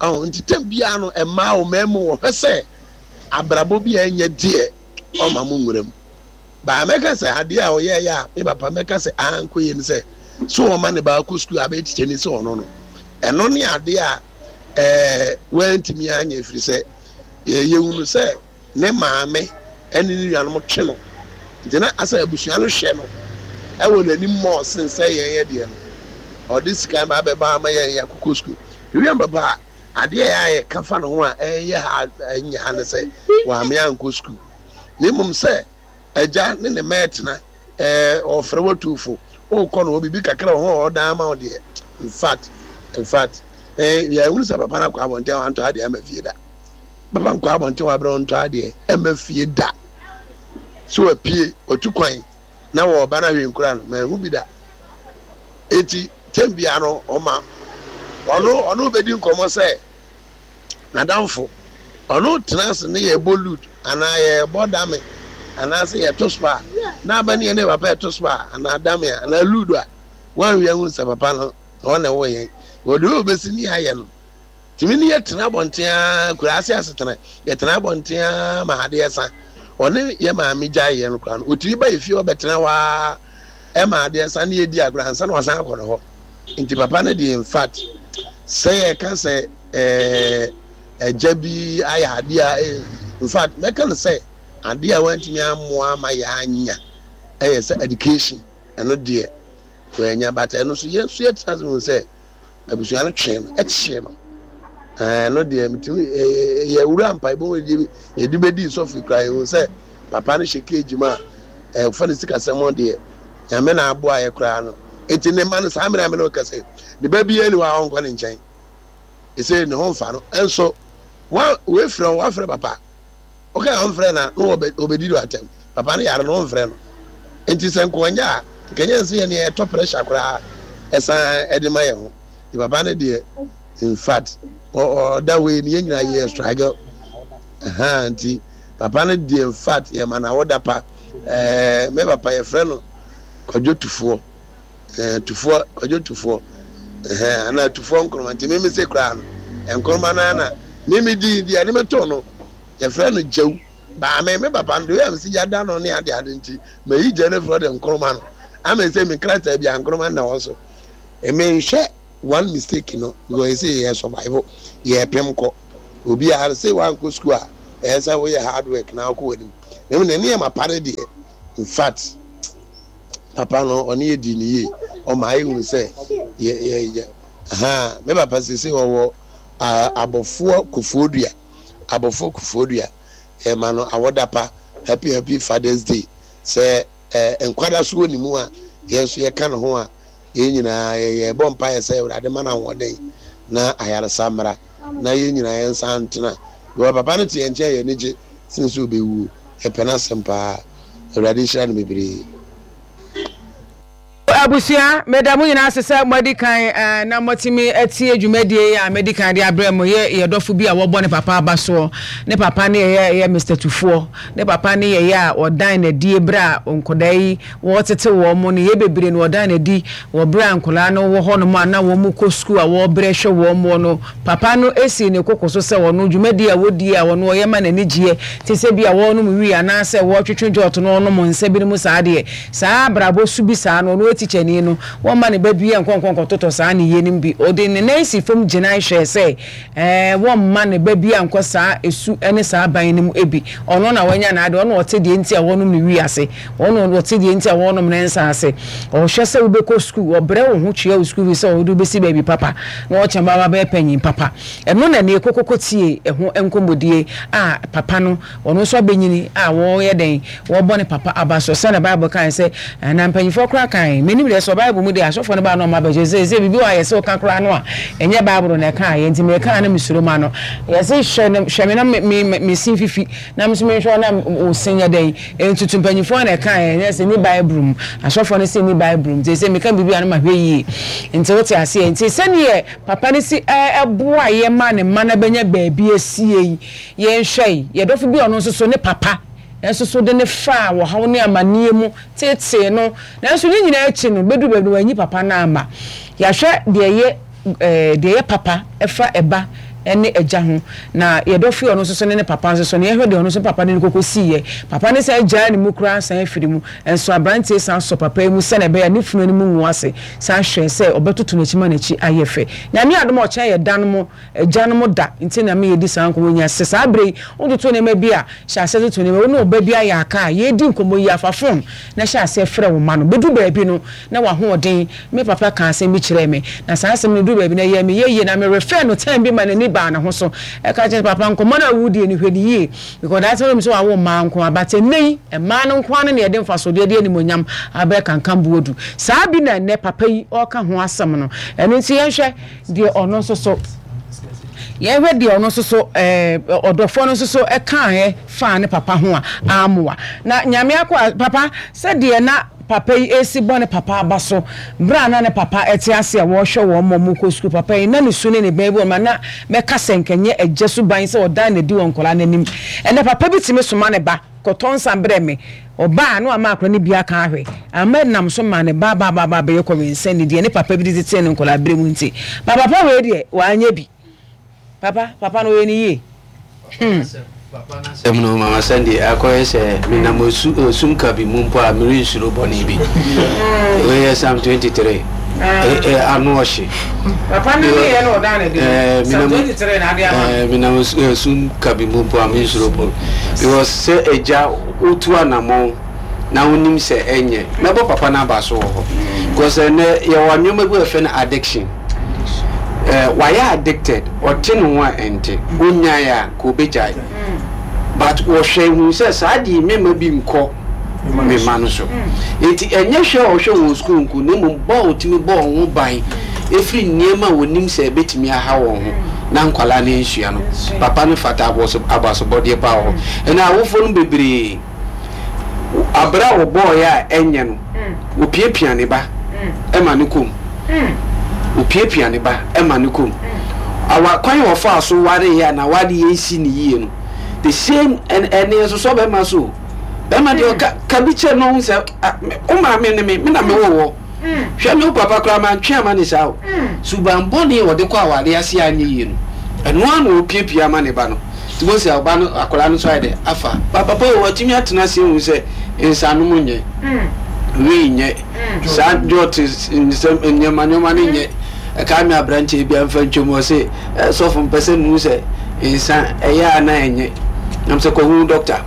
ɔho nti tɛm biara no mmaa o mmarima o wɔhwɛ sɛ abrabɔ bi a ɛnyɛ deɛ ɔma mo nwura mu. Baa mɛka sɛ adeɛ a ɔyɛɛyɛ a me papa mɛka sɛ ankɔ yie ne sɛ so ɔma ne ba kɔ sukuu abɛyɛ tikyani sɛ ɔno no. Ɛno ne adeɛ a ɛɛ wantumi anyɛ ɛfiri sɛ yɛhunu sɛ ne maame ne ne nuanom twe no nti na asɛ abusua no hwɛ no ɛwɔ n'anim mɔɔ sen sɛ yɛn yɛ deɛ no ɔde sika ba abɛba ama yɛn yɛakokɔ sukuu. William papa Adeɛ a ɛyɛ a yɛka fa ne ho a ɛnyɛ ha ɛnyɛ ha ne sɛ wame ankɔ sukuu na mmom sɛ agya ne ne mma ɛtena ɛɛ ɔfrɛ watu fo wokɔ no hɔ biribi kakra wɔ ho a ɔdan ama wo deɛ in fact in fact ɛɛ yɛhunu sɛ papa no akɔ abɔnten a wantɔ adeɛ ama fie da papa nkɔ abɔnten wabrɛ ɔntɔ adeɛ ɛma fie da so wapue watu kwan na wɔreba no ahwɛ nkura no manhu bi da eti tɛm bia no ɔma ɔno ɔno bɛdi nkɔmmɔ sɛ n'adamfo ɔno tena ase ne yɛbɔ lud anaa yɛbɔ dame anaasɛ yɛto spa na aba ne yɛ ne papa yɛto spa anaa dame anaa lud a wɔanwia hu sɛ papa no na ɔna ɛwɔ yɛn wɔde wɔ bɛsi ne ayɛ no Tumi ne yɛtena abɔnten ara, kuraase asetena, yɛtena abɔnten ara ma adeɛ sa. Ɔne yɛ maame gyae yɛn koraa no, ɔtumi ba yɛ fie hɔ bɛtena hɔ ara ma adeɛ sa ne yɛdi agorɔ ansa na wasan akɔ ne hɔ. Nti papa no deɛ in fact, sɛ yɛka sɛ ɛɛ agya bi ayɛ adeɛ a, in fact mɛka no sɛ adeɛ a wantumi ammoa ama yɛanya ɛyɛ sɛ education, ɛno deɛ wanya but ɛno nso yɛn nso yɛtena ase hu sɛ Abusua no twee no, kyee no. Ɛno deɛ metumi yɛ wura mpaebɔ mu deɛ yɛde bɛdi sɔfo kura yɛhu sɛ papa no hyɛ cage mu a ɛfa ne sikasɛm deɛ nyame na aboa yɛ koraa no. Enti ne mma no saa mmerɛ a me ne wo kasa yi ne ba biara ni hɔ a ɔnkɔ ne nkyɛn. Ɛsɛ ne ho mfa no. Ɛnso wa wefrɛ wo wafrɛ papa. Woka a ɔmfrɛ no a na wɔbɛdi no atɛm. Papa no yare no ɔmfrɛ no. Nti sɛ nka ɔnyɛ a nka ɛnyɛ sɛ yɛn yɛtɔ pressure koraa ɛsan ɛde ma yɛn ho. Nti papa no deɛ in fact ɔda hɔ yi no yɛn nyinaa yɛ struggle. Ɛhaa nti papa no deɛ in fact yɛma no awoda pa. Ɛɛ me papa yɛfrɛ no Kwadwo Tufoɔ. Ɛɛ Tufoɔ Kwadwo Tufoɔ. Ɛhɛn anaa Tufoɔ Nkrumah nti me me se koraa no Nkrumah no ara na me me din deɛ ne me too no yɛfrɛ no Gyawu. Baa me me papa no deɛ ɔyɛ a mesi gya da no ne ade ade nti mayi gya no afiri hɔ de Nkrumah no ama ɛsɛ me nkrataa bi a Nkrumah na ɛwɔ so. Menhwɛ one mistake no because ɛsɛ yɛ survive yɛpem kɔ obiara sɛ wankɔ sukuu a. Ɛyɛ sɛ woyɛ hard work na wokɔ w'anim. Na mmom ne nneɛma pa no deɛ, in fact, papa no ɔne yɛ dii no yie. Ɔmaa yɛhunu sɛ yɛ yɛ yɛ ahaa me papa seesei ɔwɔ abɔfoɔ kofoɔdua abɔfoɔ kofoɔdua yɛma no awɔda pa happy happy father's day sɛ eh, nkwa da so wɔ ne mu a yɛn nso yɛka ne ho a yɛn nyinaa yɛbɔ mpaeɛ sɛ awurade ma no ahoɔden na ayaresa mmra na yɛn nyinaa yɛn nsa ntena because papa no te yɛn nkyɛn yɛn ani gye sen sɛ ɔbɛwuo yɛpɛ n'asɛm paa awurade nhyira no bebree. Abusua, meda mo nyinaa ase sɛ moadi kan na moatumi atie dwumadie yi a madi kan de abrɛ mo. Yɛ yɛ dɔfo bi a wɔbɔ ne papa aba soɔ. Ne papa ne yɛyɛ yɛ Mister Tufoɔ. Ne papa ne yɛyɛ a ɔdan n'adie berɛ a nkwadaa yi wɔretete wɔn mo. Ne yɛ bebree no ɔdan n'adi wɔ berɛ a nkwadaa no wɔ hɔnom a na wɔn kɔ sukuu a wɔrebrɛ hwɛ wɔn mo no. Papa no sii ne koko so sɛ ɔno dwumadie a wɔdie a ɔno ɔyɛ ma n'ani gyeɛ te sɛ bi a wɔrenom wii anaasɛ wɔretwetwe jɔt na ɔnom nsa binom saa deɛ, saa abrabɔ su bi saa no, ɔno tikyani no, wɔmma ne ba biara nkɔ nkɔ nkɔtotɔ saa nneyɛɛ no bi. Ɔde ne nan sii fam gyinae hwɛɛ sɛ ɛɛ wɔmma ne ba biara nkɔ saa su ne saa ban no mu bi. Ɔno na wanya n'ade, ɔno na ɔte deɛ nti a wɔnom no wii ase, ɔno na ɔte deɛ nti a wɔnom ne nsa ase. Ɔhwɛ sɛ wobɛkɔ sukuu, ɔbrɛ wo ho tua wo sukuu fees sɛ ɔde wo bɛsi baabi papa na ɔkyɛ ba wabɛyɛ panyin papa. Ɛno na nea ɛkɔkɔkɔ tie ɛho nkɔmmɔdie a papa no ɔno nso abɛnyini a wɔyɛ dɛn wɔbɔ ne papa aba so sɛnea Bible kae sɛ na mpanyinfoɔ koraa kae menim deɛ sɛ Bible mu deɛ asɔfoɔ no baa na ɔma abɛkyɛ sɛ sɛ biribi wɔ a yɛsɛ woka koraa no a ɛnyɛ Bible na ɛka yɛ nti meka na mesuro ma no yɛse hwɛ hwɛ me na me me me sin fifi na me nso menhwɛ na wo sin yɛ dɛn ntutu mpanyinfoɔ na ɛka yɛ nyɛ sɛ ni Bible mu asɔfoɔ no sɛ ni Bible mu nti sɛ meka biribi a no mahwɛ yie nti wote aseɛ nti sɛdeɛ papa no si ɛboa yɛ ma ne mma no bɛnya baabi asie yi Yɛnhwɛ yi, yɛn dɔfo bi a ɔno nso so ne papa nso so de no faa ɔhaw ne amanneɛ mu teetee no, nanso ne nyinaa akyi no, bɛduru baabi no wanyi papa no amma. Yɛahwɛ deɛ ɛyɛ deɛ ɛyɛ papa ɛfa ɛba ne agya ho, na yɛn dɔfo yi a ɔno nso so ne ne papa nso so no, yɛhwɛ deɛ ɔno nso papa de no kɔkɔsiiɛ. Papa no san gyaa ne mu koraa san firi mu, nso aberanteɛ san sɔ papa yi mu sɛdeɛ ɛbɛyɛ a ne funu anim ngu ase, san hwɛɛ sɛ ɔbɛtoto n'akyi ma n'akyi ayɛ fɛ. Nyame adom a ɔkyena yɛ da no mo Agyanom da nti na me yɛdi saa nkɔmmɔ yi nya. Sɛ saa berɛ yi wototo nneɛma bi a, hyɛ aseɛ toto nneɛma. Wo ne wo ba bi ayɛ aka a, yɛredi nkɔmmɔ yi a, fa fon na hyɛ aseɛ frɛ wo mma no. Bɛduru baabi no, na w'ahoɔden. Me papa kaa asɛm bi kyerɛɛ me, na saa asɛm no duru baabi no, ɛyɛɛ me yɛ yie, na me refɛɛ no time bi ma n'ani baa ne ho so. Ɛka kyerɛ sɛ, Papa, nkɔmmɔ no a woredie no, hwɛ no yie. Because that time wonim sɛ wawo mmaa nko ara, but ɛnnɛ yi, mmaa no nko ara no na yɛde mfasodeɛ de animuonyam abrɛ Kankambuo du. Saa bi na ɛnnɛ papa yi ɔreka ho asɛm no. Ɛno nti yɛnhwɛ. Deɛ ɔno nso so, yɛnhwɛ deɛ ɔno nso so ɛɛ ɔdɔfoɔ no nso so kaeɛ faa ne papa ho a ammoa. Na Nyame akoa, papa, sɛdeɛ na papa yi resi bɔ ne papa aba so berɛ a na ne papa te ase a wɔrehwɛ wɔn ma wɔkɔ sukuu, papa yi na ne su ne ne bɛn bi wɔ no ma na mɛka sɛ nka ɛnyɛ agya suban sɛ ɔdan n'adi wɔ nkwadaa no anim. Ɛnnɛ papa bi tumi soma ne ba Kɔtɔ nsa brɛ me. Ɔbaa a, na wama akwadaa no bi aka ahwɛ. Amma ɛnam so maa ne ba ba ba ba bɛyɛ kɔwensani deɛ ne papa bi de tetee no nkwadaa-berɛ mu nti. Ba papa wei deɛ, wanyɛ bi. Papa, papa no ɔyɛ no yie. Hmm. Papa no asɛm no, Mama Sandy, akɔyɛ sɛ menam osu osum kabi mu mpo a merensuro bɔne bi. Wei yɛ Psalm 23. Ano ɔhye. Papa no ne yɛ na ɔdaa no adi no. Psalm 23 na ade ama no. Menam esum kabi mu mpo a mensuro bɔne. Because sɛ agya wotu anamɔn na wonim sɛ ɛnyɛ, mɛbɔ papa no aba so wɔ hɔ. Because ɛnɛ yɛwɔ nneɛma bi a yɛfrɛ no addiction. Wayɛ addicted, ɔte ne ho a ɛnte, ɔnyae a nka ɔbɛgyae. But wɔhwɛ hu sɛ saa deɛ mɛma bi nkɔ me mma no so. Enti ɛnyɛ hwɛ a ɔhwɛ wɔn sukuu nko, na mmom bɔ a ɔtumi bɔ wɔn ho ban firi nneɛma a wɔnim sɛ ɛbɛtumi aha wɔn ho na nkwadaa no ansua no. Papa no fata abasobɔdeɛ paa wɔ hɔ. Ɛnna awofoɔ no bebree, aberɛ a wɔbɔeɛ a ɛnyɛ no, wɔpiapia ne ba ma no kɔ mu. Wɔpiapia ne ba ma no kɔ mu. Awa kwan a wɔfaa so wareeɛ a na awadeɛ nsi no yie no, the same ɛne ɛsosɔ bɛrima so o. Bɛrima deɛ ɔka ka bi kyerɛ no ɔhu sɛ wo maame ne me me na mewɔ wɔ hwɛ me wo papa koraa mantwe ama ne saa o suban bɔne a ɔde kɔ aware ase anyɛ yie no ɛno ara na ɔpiapia ama ne ba no nti mo sɛ ɔba no akwadaa no nso ayɛ dɛ afa ba papa o watumi atena ase ehu sɛ nsanom nyɛ wii nyɛ saa jɔt nsɛm nneɛma nneɛma no nyɛ ɛka me aberanteɛ bi amfa ntwam ɔse sɔfo mpɛ sɛ mehu sɛ nsa ɛyɛ a na ɛnyɛ. Nam sɛ kɔhu dɔkta.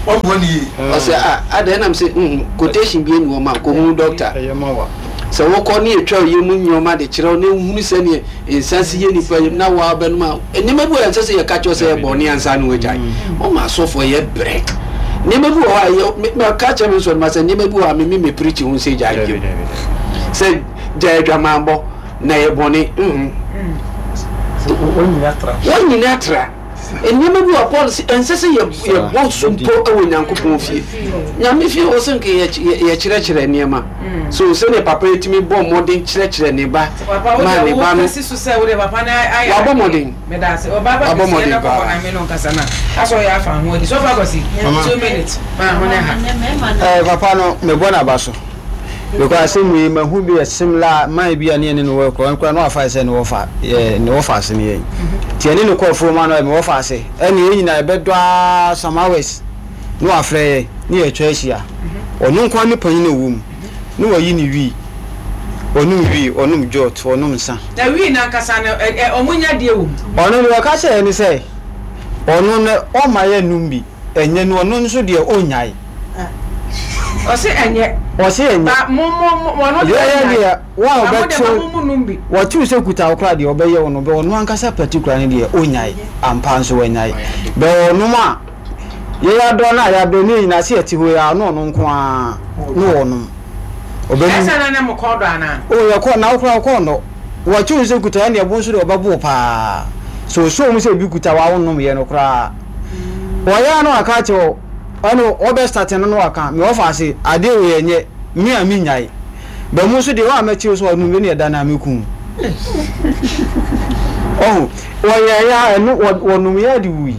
Ɔsɛ a adɛn nam sɛ mm quotation bi ani hɔ ma kɔhu dɔkta. Sɛ wokɔ ne yɛtwa wo yam nneɛma de kyerɛ wo na wohunu sɛdeɛ nsa si yɛ nipa yam na woa wobɛnom a, nneɛma bi wɔ hɔ a ɛnsɛ sɛ yɛka kyerɛ wo sɛ yɛ bɔne ansa na woagyae. Wɔma asɔfoɔ yɛ brɛ. Nneɛma bi wɔ hɔ a yɛ me mɛka kyerɛ me nsɔrima sɛ nneɛma bi wɔ hɔ a me me mepirikyi ho sɛ gyae bio. Sɛ gyae adwamammɔ na ɛyɛ bɔne. Mm. Wɔnyini atra. Nneɛma bi wɔ Paul sɛ ɛnsɛ sɛ yɛbɔ so mpo wɔ Nyankopɔn fie. Nyame fie wɔ sɛ nka yɛkyerɛkyerɛ nneɛma. So sɛdeɛ papa yi tumi bɔ mmɔden kyerɛkyerɛ ne ba ma ne ba no wabɔ mmɔden. Wabɔ mmɔden paa. Papa no mebɔ n'aba so. Because asɛm wei mahu bi yɛ similar man bi a ne yɛne no wɔ kɔ nkora na wafa sɛ ne wɔfa yɛ ne wɔfa ase ne yɛn nti yɛne no kɔ afuom ano yɛ me wɔfa ase ɛne yɛn nyinaa yɛbɛdɔ ara some hours na wafrɛ yɛn ne yɛatwa ahyia ɔno nko ara ne panyin a ɔwɔ mu na wayi ne wii ɔnom wii ɔnom jot ɔnom nsa. Na wii no ankasa no ɛ ɛ ɔmo nya deɛ wɔ mu. Ɔno deɛ ɔka kyerɛ yɛn ne sɛ ɔno no ɔmma yɛnnom bi. Ɛnyɛ no ɔno nso deɛ ɔnyae. Ɔse ɛnyɛ. Ɔse ɛnyɛ. Ba mo mo mo ɔno deɛ ɔnyae. Yɛyɛ deɛ wɔn a Ba mo deɛ ɔbɛtew ma mo mo nom bi. wɔtew sɛ kuta wo koraa deɛ ɔbɛyɛ wo no bɛ ɔno ankasa particular no deɛ ɔnyae ampa nso wanyae bɛ ɔnom a yɛyɛ adɔ no a yɛabrɛ ne yɛ nyinaa sɛ yɛte hɔ yi a ɔno ɔno nko ara ne ɔnom. Ɔbɛnum. Ɛsɛ na na mo kɔn dɔ anaa? O yɛkɔ na wo koraa wo kɔn dɔ. Wɔkye wo sɛ kuta ɛne ɛbo nso deɛ ɔbɛbo wo paa. Sɛ ɔsɔ mu sɛ ebi kuta wo a wonnom yɛ no koraa. Wɔyɛ a na waka akyerɛ wo ɛne wɔbɛ start no na waka me wɔfa ase adeɛ wei ɛnyɛ me a menyae. Bɛ mo nso deɛ wo a mɛkye wo sɛ ɔnom bi ne ɛda no a mɛku wo. Ɔho wɔyɛɛ a ɛno wɔnom yɛ de wui.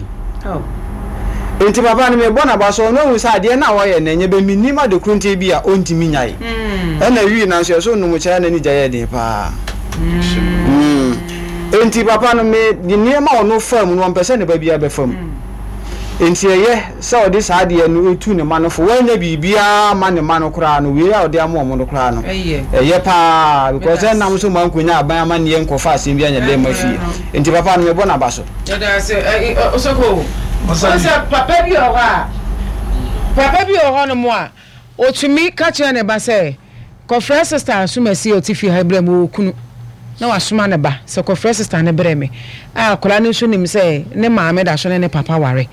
Nti papa no mebɔ n'aba so ɔno ahu sɛ adeɛ no a ɔyɛ no ɛnyɛ bɛ mennim ade koro nti bi a ɔntumi nyae. Ɛna wii nanso yɛsɛ ɔnom kyɛ na ne gya yɛ den paa. Nti papa no me de nneɛma a ɔno faa mu no ɔmpɛ sɛ ne ba biara bɛfa mu. Nti ɛyɛ sɛ ɔde saa adeɛ no tu ne mma no fo. Wannya biribiara amma ne mma no koraa no, wei a ɔde ama wɔn no koraa no, ɛyɛ paa because ɛnam so ma nkonya aban amanneɛ nkɔfa asɛm bi anyɛ dɛ mma fie. Nti papa no mebɔ n'aba so. Yɛda ase ɛ Osoko. Ɔsɛ papa bi wɔ hɔ a, papa bi wɔ hɔnom a, ɔtumi ka kyerɛ ne ba sɛ, Kɔfrɛ sista Asumasi a ɔte fie ha yi brɛ me, ɔwɔ kunu, na wasoma ne ba sɛ kɔfrɛ sista no brɛ me. A akwadaa no nso nim sɛ ne maame da so ne ne papa ware.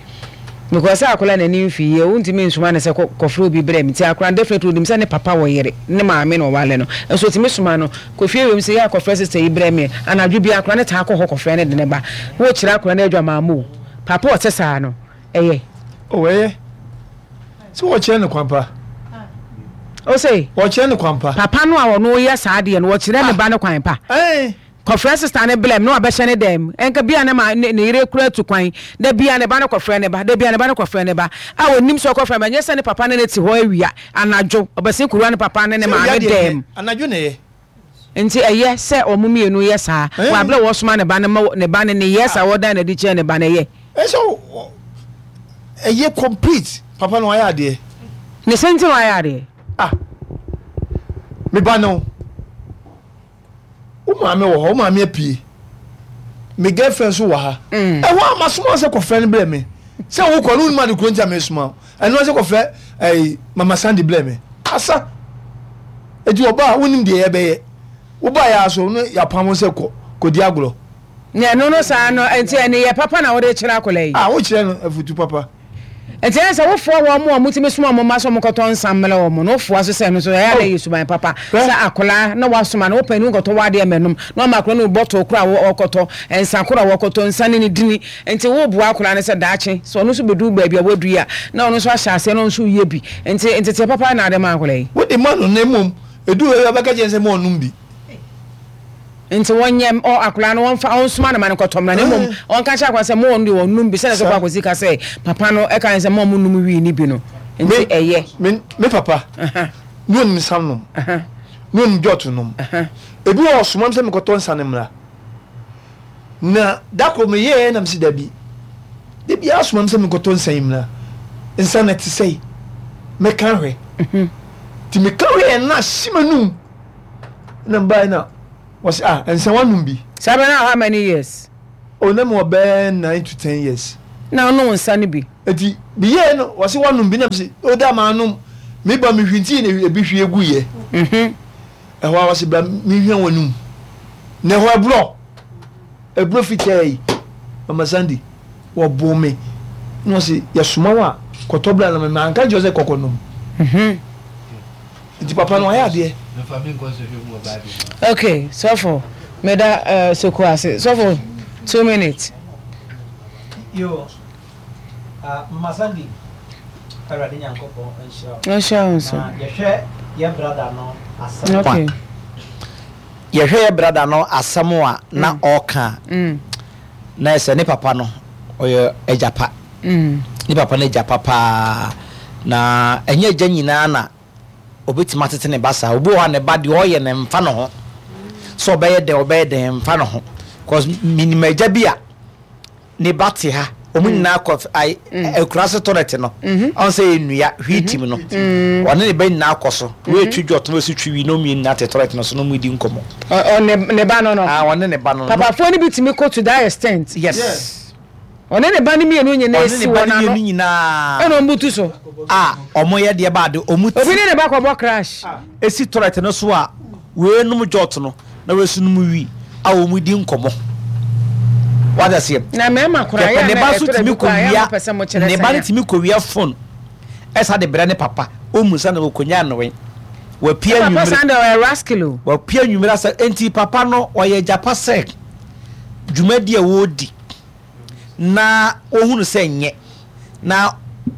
Because sɛ akwadaa n'ani mfi yie, wontumi nsoma no sɛ kɔ kɔfrɛ obi brɛ me. Nti akwadaa no definitely onim sɛ ne papa wɔ yere, ne maame na ɔware no. Nso otumi soma no kɔ fie wiem sɛ yɛ a kɔfrɛ sista yi brɛ me. Anadwo biara akwadaa no taa kɔ hɔ kɔfrɛ no de no ba. Wokyerɛ akwadaa no adwamammɔ o. Papa a ɔte saa no, ɛyɛ. Oh, ɛyɛ. Sɛ wɔkyerɛ no kwan pa. Ose. Wɔkyerɛ no kwan pa. Papa no a ɔno yɛ saa adeɛ no, wɔkyerɛ ne ba no kwan pa. Ɛɛ. Kɔfrɛ sista no blɛm na wabɛhyɛ ne dɛm. Ɛnka bia ne ma ne ne yere kura tu kwan. Da bia ne ba no kɔfrɛ ne ba. Da bia ne ba no kɔfrɛ ne ba. A onim sɛ ɔkɔfrɛ ba. Nyɛ sɛ ne papa ne no te hɔ awia anadwo. Ɔbɛsen kɔwura ne papa ne ne Sɛ awia maame deɛ ɛnyɛ, dɛm. anadwo na ɛyɛ. Nti ɛyɛ sɛ wɔn mmienu yɛ saa wɔ abere a wɔsoma ne ba no ma ne ba no nneyɛɛ saa wɔdan no adi kyerɛ ne ba no ɛyɛ. Ɛsɛ ɛyɛ complete papa no wayɛ adeɛ. Ne sɛ nti na wayɛ adeɛ. Ah me ba no wo maame wɔ hɔ wo maame apue me girlfriend nso wɔ ha ɛhɔ a masoma sɛ kɔfrɛ no brɛ me sɛ wokɔ no wonim ade kuro nti a mesoma wo ɛno sɛ kɔfrɛ ɛyi mama Sandy brɛ me asa eti ɔba a wonim deɛ yɛbɛyɛ woba yɛ aso no yɛapam wo sɛ kɔ kɔdi agorɔ. Na ɛno no saa no nti ɛneyɛ papa na wode kyerɛ akwadaa yi. A wokyerɛ no afutu papa. Nti ɛyɛ sɛ wofoa wɔn a wɔtumi soma wɔn mma sɛ wɔnkɔtɔ nsa mmrɛ wɔn no, wofoa so sɛ ɛno nso ɛyɛ a na ɛyɛ suban papa sɛ akwadaa na woasoma no, wo panin nkɔtɔ w'adeɛ mmɛnom na wama akwadaa no bɔtol koro a wɔkɔtɔ, nsa koro a wɔkɔtɔ, nsa ne ne dini. Nti woboa akwadaa no sɛ daakye sɛ ɔno nso bɛduru baabi a waduru yi a, na ɔno nso ahyɛ aseɛ na ɔno nso reyɛ bi. Nti nteteɛ papa na wode ma akwadaa yi. Wode ma no na mmom ɛduru baabi a wobɛka kyerɛ no sɛ ma ɔnnom bi. Nti wɔnyɛ ɔ akwadaa no wɔnfa ɔnsoma no ma no nkɔtɔ mmra na mmom ɔnka nkyerɛ akwadaa sɛ mo wɔn deɛ wɔnnom bi sɛdeɛ sɔfo Akwasi ka sɛ papa no ɛka ne sɛ mo a monnom wii no bi no nti ɛyɛ. Me me papa ne onim nsa nom ne onim jɔt nom ebi wɔ ɔsoma me sɛ mekɔtɔ nsa no mmra na da koro meyɛɛ na mesi dabi da biara soma me sɛ mekɔtɔ nsa yi mmra nsa no ɛte sɛi mɛka hwɛ nti meka hwɛ yɛ na ahye m'anum na mbae na wɔsi ah nsa wanom bi. Saa bɛ na how many years. Oh na mewɔ bɛyɛ 9 to 10 years. Na ɔnom nsa no bi. Eti meyɛɛ no wɔse woanom bi na mese o da manom meba mehwintii na ebi hwie guiɛ. Ɛhɔ a wɔse bra menhwɛ w'anum na ɛhɔ ɛborɔ ɛborɔ fitaa yi Mama Sandy wɔboo me na wɔse yɛsoma wo a kɔtɔ bra na me manka nkyerɛ sɛ kɔkɔ nom. Nti papa no wayɛ adeɛ. Okay sɔfo meda uh, soko ase sɔfo 2 minutes. Yo, Mama Sandy, Awurade Nyankopɔn nhyira wo. Nhyira wo nso. Na yɛhwɛ yɛ brada no asɛm. Okay. Yɛhwɛ yɛ brada no asɛm a na ɔka. Na ɛsɛ ne papa no ɔyɛ agya pa. Ne papa no agya pa paa. Na ɛnyɛ agya nyinaa na obetumi atete ne ba saa. Obi wɔ hɔ a ne ba deɛ ɔyɛ no mfa ne ho. Sɛ ɔbɛyɛ dɛn ɔbɛyɛ dɛn mfa ne ho. Cause minim agya bi a ne ba te ha wɔn nyinaa kɔ ayi akura se toilet no ɔn sɛ yɛ nnua hwii tim no ɔne ne ba nyinaa kɔ so wei twi dwɔt na osi twi wi na wɔn nyinaa te toilet no so na wɔn di nkɔmɔ. Ɔne ne ba no no. Ah ɔne ne ba no no. Papafoɔ no bi tumi kɔ to that extent. Yes. Ɔne ne ba no mmienu nyinaa ɔne ne si ba wɔn no ano. mmienu nyinaa. Ɛna wɔn butu so. A wɔn yɛ deɛ baade wɔn ti. Obi ne ne ba kɔbɔ crash. Esi toilet no so a wei nom jɔt no na wei nso nom wi a wɔn di nkɔmɔ. Wate aseɛ? Na mmarima koraa Yɛpɛ yɛ ne a ba na nso ɛtɔ da tumi bi koraa yɛ a kɔwia mopɛ sɛ mokyerɛ ne ba sɛn no a. tumi kɔwia phone ɛsa de brɛ ne papa ɔmmu sa na ɔkɔnya nnowe wapue Sɛ papa anwummere san deɛ ɔyɛ rascal o. wapue anwummere asa enti papa no ɔyɛ gyapa sɛ dwumadi a wɔredi na ɔhunu sɛ nyɛ na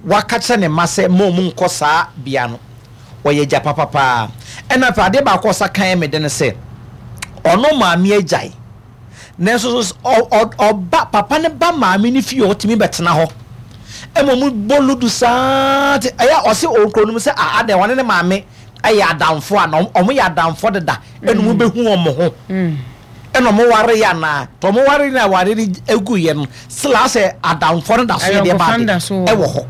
waka kyerɛ ne mma sɛ mma ɔmu nkɔ saa bea no ɔyɛ gyapa papaa ɛna afei adeɛ baako a ɔsa kan me de no sɛ ɔno maame agyae nanso so ɔba papa no ba maame no fie ɔtumi bɛtena hɔ ɛma ɔmu bɔ ludu saa te ɛyɛ ɔse ɔnkuro no mu sɛ a adɛn ɔne ne maame ɛyɛ adamfo a na ɔmo yɛ adamfo deda ɛna ɔmo bɛhu ɔmo ho ɛna ɔmo ware yɛ anaa tɔ ɔmo ware na ware no egu yɛ no sila sɛ adamfo no da so yɛ deɛ Ayɔnkofa baade no da so wɔ ɛwɔ hɔ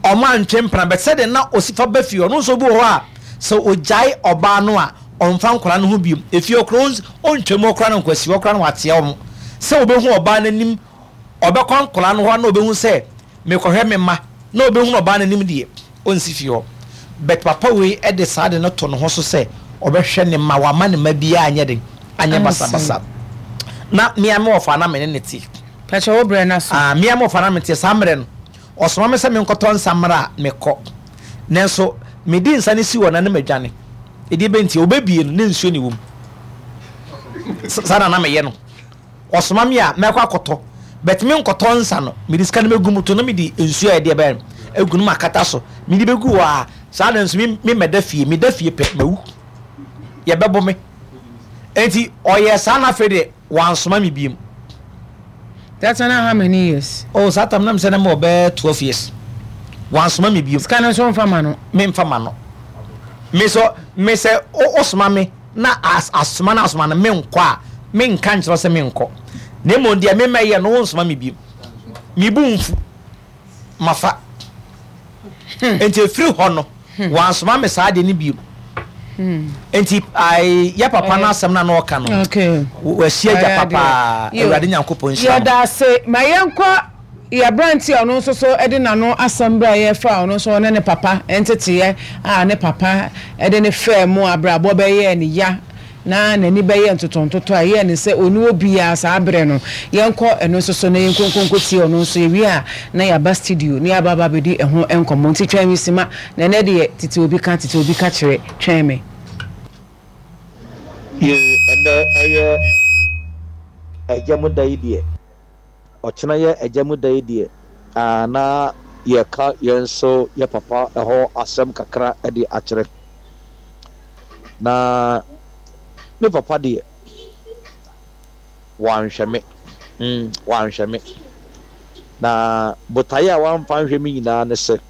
ɔmo antwe mpena bɛ sɛdeɛ na osi fa ba fie ɔno nso bi wɔ hɔ a sɛ ogyae ɔbaa no a ɔmfa nkwadaa no ho biom efie ɔkora ɔntwa mu ɔkora no nkwasi ɔkora no watea wɔn sɛ obehu ɔbaa n'anim ɔbɛkɔ nkwadaa no hɔ na obehu sɛ mekɔhwɛ me ma na obehu ɔbaa n'anim deɛ ɔnsi fie hɔ but papa wei ɛde saa de no to ne ho so sɛ ɔbɛhwɛ ne ma wama ne ma biara anyɛ den anyɛ basabasa na mmea me wɔfa na me ne ne te. Pɛkyɛ wo brɛ na so. Ah mmea me wɔfa na me te saa mmerɛ no ɔsoma me sɛ menkɔtɔ nsa mmra a mekɔ nanso mede nsa no si hɔ na ne madwane ɛdeɛ bɛnti ɔbɛbie no ne nsuo ne wɔ mu saa na na meyɛ no ɔsoma me a mɛkɔ akɔtɔ but me nkɔtɔ nsa no mede sika no mɛgu mu to na mede nsuo a ɛdeɛ bɛn agu no makata so mede bɛgu hɔ a saa na nso me mɛda fie meda fie pɛ mawu yɛbɛbɔ me enti ɔyɛ saa na afei deɛ wansoma me biem. That's not how many years? Oh, saa tam na mesɛ na mewɔ bɛyɛ 12 years. Wansoma me biem. Sika no nso mfa ma no. Memfa ma no. Me so me sɛ wosoma me na asoma na asoma no menkɔ a menka nkyerɛ sɛ menkɔ. Na mmom deɛ memɛyɛ no wonsoma me biem. Mebu mfu mafa. Nti ɛfiri hɔ no wansoma me saa deɛ no biem. Nti yɛ papa no asɛm no a na ɔka no wahyia agya papa Awurade Nyankopɔn nhyira no. Yɛda ase ma yɛnkɔ yɛ aberante a ɔno nso so de n'ano asɛm berɛ a yɛfa ɔno nso ɔne ne papa nteteeɛ a ne papa de ne faa mu abrabɔ bɛyɛɛ ne ya na n'ani bɛyɛɛ ntotontoto a ɛyɛɛ no sɛ ɔnni obiara saa berɛ no. Yɛnkɔ ɛno nso so na yɛnkonkonko tie ɔno nso. Yɛwie a na yɛaba studio na yɛaba aba abɛdi ɛho nkɔmmɔ. Nti twɛn me sima na ɛnnɛ deɛ tete obi ka tete obi ka kyerɛ. Twɛn me. Yoo ɛnɛ ɛyɛ agya mu da yi deɛ ɔkyena yɛ agya mu da yi deɛ aa na yɛka yɛn nso yɛ papa ɛhɔ asɛm kakra de akyerɛ na me papa deɛ wanhwɛ me mm wanhwɛ me na botaeɛ a wamfa anhwɛ me nyinaa ne sɛ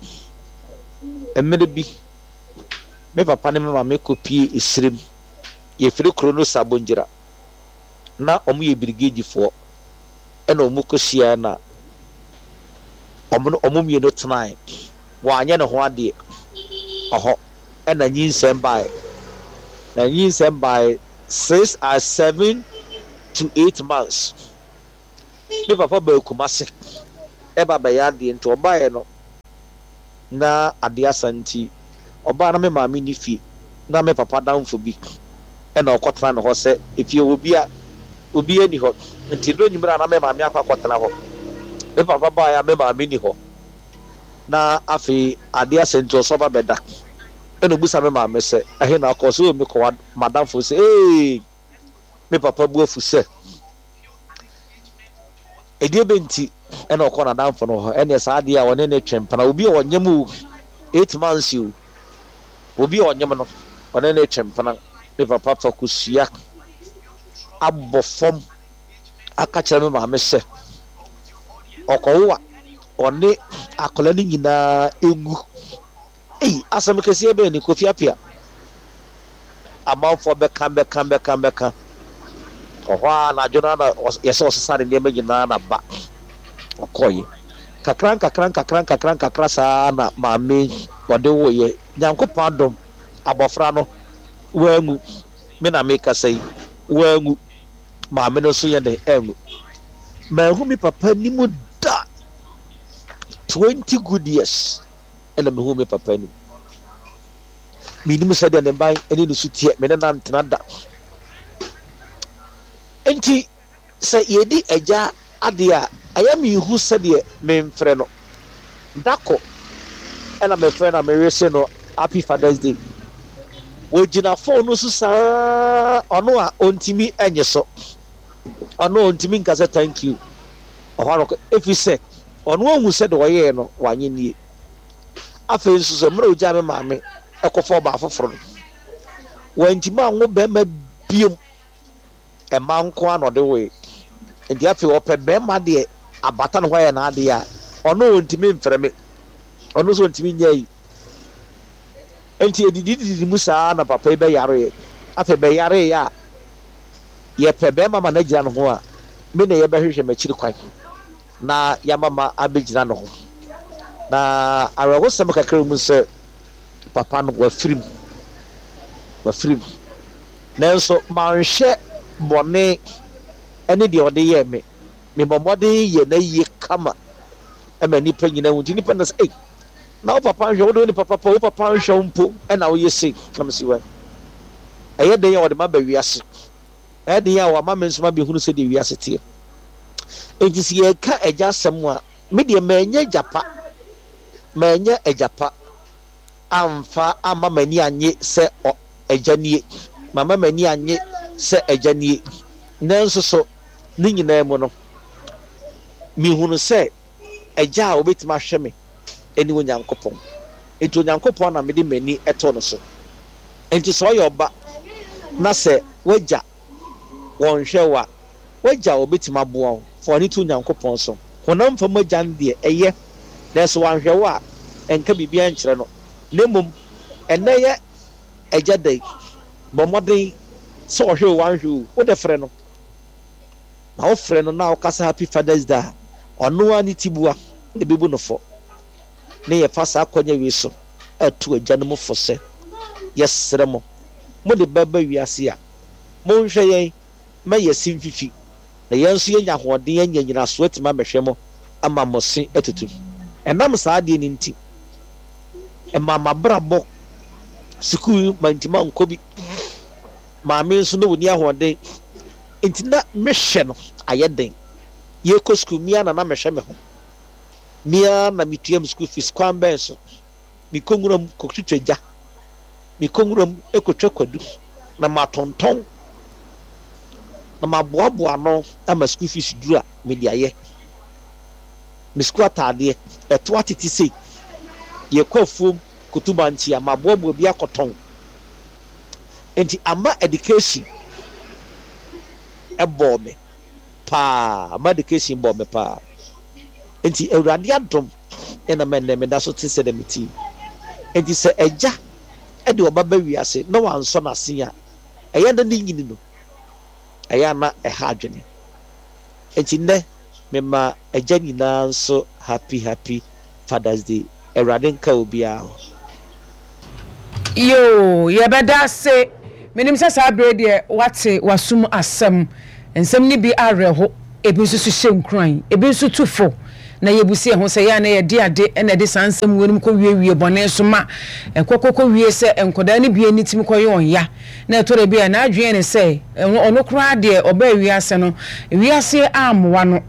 mmerɛ bi me papa ne me maame kɔpie esirem yɛfiri kuro no Sabongyira na wɔn yɛ birigeedifoɔ ɛna wɔn kɔhyiaɛ na wɔn wɔn mmienu tenae wanyɛ ne ho adeɛ ɔhɔ ɛna nyinsɛn baeɛ na nyinsɛn baeɛ 6 or 7 to 8 months. Me papa baa Kumase ɛba bɛyɛ adeɛ nti ɔbaeɛ no na adeɛ asa nti ɔbaa na me maame nni fie na me papa adamfo bi na ɔkɔtena ne hɔ sɛ efie hɔ obia obiara nni hɔ nti ɛduru anwummerɛ a na me maame akɔ akɔtena hɔ. Me papa baeɛ a me maame nni hɔ na afei adeɛ asa nti ɔsɛ ɔba bɛda ɛna ɔbisa me maame sɛ ɛhe na akɔ ɔsɛ oh mekɔ m'adamfo sɛ ee me papa bu afu sɛ ɛdeɛ bɛ nti ɛna ɔkɔ n'adamfo no hɔ ɛneɛ saa adeɛ a ɔne ne twe mpena obi a ɔnyem o 8 months o, obi a ɔnyem no ɔne ne twe mpena. Me papa fa kosua abɔ fam aka kyerɛ me maame sɛ ɔkɔwo a ɔne akwadaa no nyinaa ɛngu. Ei, asɛm kɛseɛ bɛn ni, Kofi Appiah? Amanfoɔ bɛka bɛka bɛka bɛka. Ɔhɔ ara anadwo no ara na yɛsɛ ɔsesa ne nneɛma nyinaa na ba. Ɔkɔeɛ. Kakra nkakra nkakra nkakra nkakra saa na maame ɔde woeɛ. Nyankopɔn adom, abɔfra no wanwu. Me na mekasa yi, wanwu. Maame no nso yɛ dɛn anwu. Manhu me papa anim da. 20 good years. Ɛna mehuu me papa anim. Mennim sɛdeɛ ne ban ne ne su teɛ, me ne no antena da. Enti sɛ yɛdi agya adeɛ a, ɛyɛ menhu sɛdeɛ memfrɛ no. Da ko ɛna mefrɛ no a mewese no Happy Father's Day. Wɔgyina phone no so saa, ɔno a ɔntumi nye so. Ɔno a ɔntumi nka sɛ thank you. Ɔhɔ ara ɔkɔ, ɛfiri sɛ ɔno ahu sɛ deɛ ɔyɛɛ no wanyɛ nie. Afei nso sɛ mmerɛ ɔgyaa me maame kɔfa ɔbaa foforɔ no, wantumi anwo bɛrima biom, mmaa nko ara na ɔde woe. Nti afei ɔpɛ bɛrima deɛ abata ne ho ayɛ n'adeɛ a, ɔno ɔntumi mfrɛ me, ɔno nso ɔntumi nyɛ ayi. Nti ɛdidididi mu saa na papa yi bɛyareɛ. Afei bɛyareeɛ a, yɛpɛ bɛrima ma no agyina ne ho a, me na yɛbɛhwehwɛ m'akyiri kwan na yɛama ma abɛgyina ne ho. Na awerɛhosɛm kakra wɔ mu sɛ papa no wafiri mu, wafiri mu. Nanso manhwɛ bɔne ne deɛ ɔde yɛɛ me. Mebɔ mmɔden yɛ n'ayie kama ma nnipa nyinaa hu. Nti nnipa nyinaa sɛ, ei, na wo papa nhwɛ wo de wo nipa papa, wo papa nhwɛ wo mpo na woyɛ sei. Na mese, wɛ, ɛyɛ den a ɔde m'aba wiase. Ɛyɛ den a wama me nso mabɛhunu sɛdeɛ wiase teɛ. Enti sɛ yɛreka agya asɛm a, me deɛ mannya agya pa. Mannya agya pa amfa amma m'ani annye sɛ agya nie. Mamma m'ani annye sɛ agya nie. Nanso so ne nyinaa mu no, mehunu sɛ agya a ɔbɛtumi ahwɛ me ne Onyankopɔn. Enti Onyankopɔn na mede m'ani to no so. Enti sɛ ɔyɛ ɔba na sɛ w'agya wɔnhwɛ wo a, w'agya a ɔbɛtumi aboa wo, fa w'ani to Onyankopɔn so. Honam fam agya no deɛ, ɛyɛ, nanso wanhwɛ wo a, ɛnka biribiara nkyerɛ no. Na mmom, ɛnnɛ yɛ Agya da yi, bɔ mmɔden sɛ ɔhwɛ o, wanhwɛ o, wo de frɛ no. Na wofrɛ no na wokasa Happy Father's Day a, ɔno ara ne tiboa na ɛbɛbu no fɔ. Ne yɛfa saa akwanya wei so atu agyanom fo sɛ, yɛsrɛ mo, mode ba ba wiase a, monhwɛ yɛn ma yɛse mfifi, na yɛn nso yɛanya ahoɔden anya nyinasoɔ atumi amɛhwɛ mo ama mo se atutu. Ɛnam saa adeɛ no nti, ɛmaa m'abrabɔ, sukuu mantumi ankɔ bi, maame nso na ɔnni ahoɔden, nti na mehwɛ no ayɛ den. Yɛrekɔ sukuu, me ara na na mehwɛ me ho. Me ara na metua me sukuu fees. Kwan bɛn so? Mekɔ nwuram kɔtwitwa gya. Mekɔ nwuram kɔtwa kwadu na matontɔn na maboaboa ano ama sukuu fees duru a mede ayɛ. Me sukuu ataadeɛ, ɛto atete sei. Yɛkɔ afuom kɔtu bankye a, maboaboa bi akɔtɔn. Enti ama education bɔɔ me paa, ama education bɔɔ me paa. Enti Awurade adom na ma ɛnnɛ meda so te sɛdeɛ mete yi. Enti sɛ agya de ɔba ba wiase na wansɔ n'ase a, ɛyɛ a na ne nyini no, ɛyɛ a na ɛha adwene. Enti nnɛ mema agya nyinaa nso happy happy Father's Day. Awurade nka obiara ho. Yoo, yɛbɛda ase. Menim sɛ saa bere deɛ woate w'asom asɛm. Nsɛm no bi awerɛho. Ebi nso so hyɛ nkuran, ebi nso tu fo, na yebu si yɛn ho sɛ yɛ a na yɛde ade na ɛde saa nsɛm weinom kɔwiewie bɔne so ma ɛkɔ kɔkɔwie sɛ nkwadaa no bi ani tumi kɔyɛ wɔn ya, na ɛtɔ da bi a n'adwene yɛ no sɛ ɔno koraa deɛ ɔbaa wiase no, wiase ammoa no.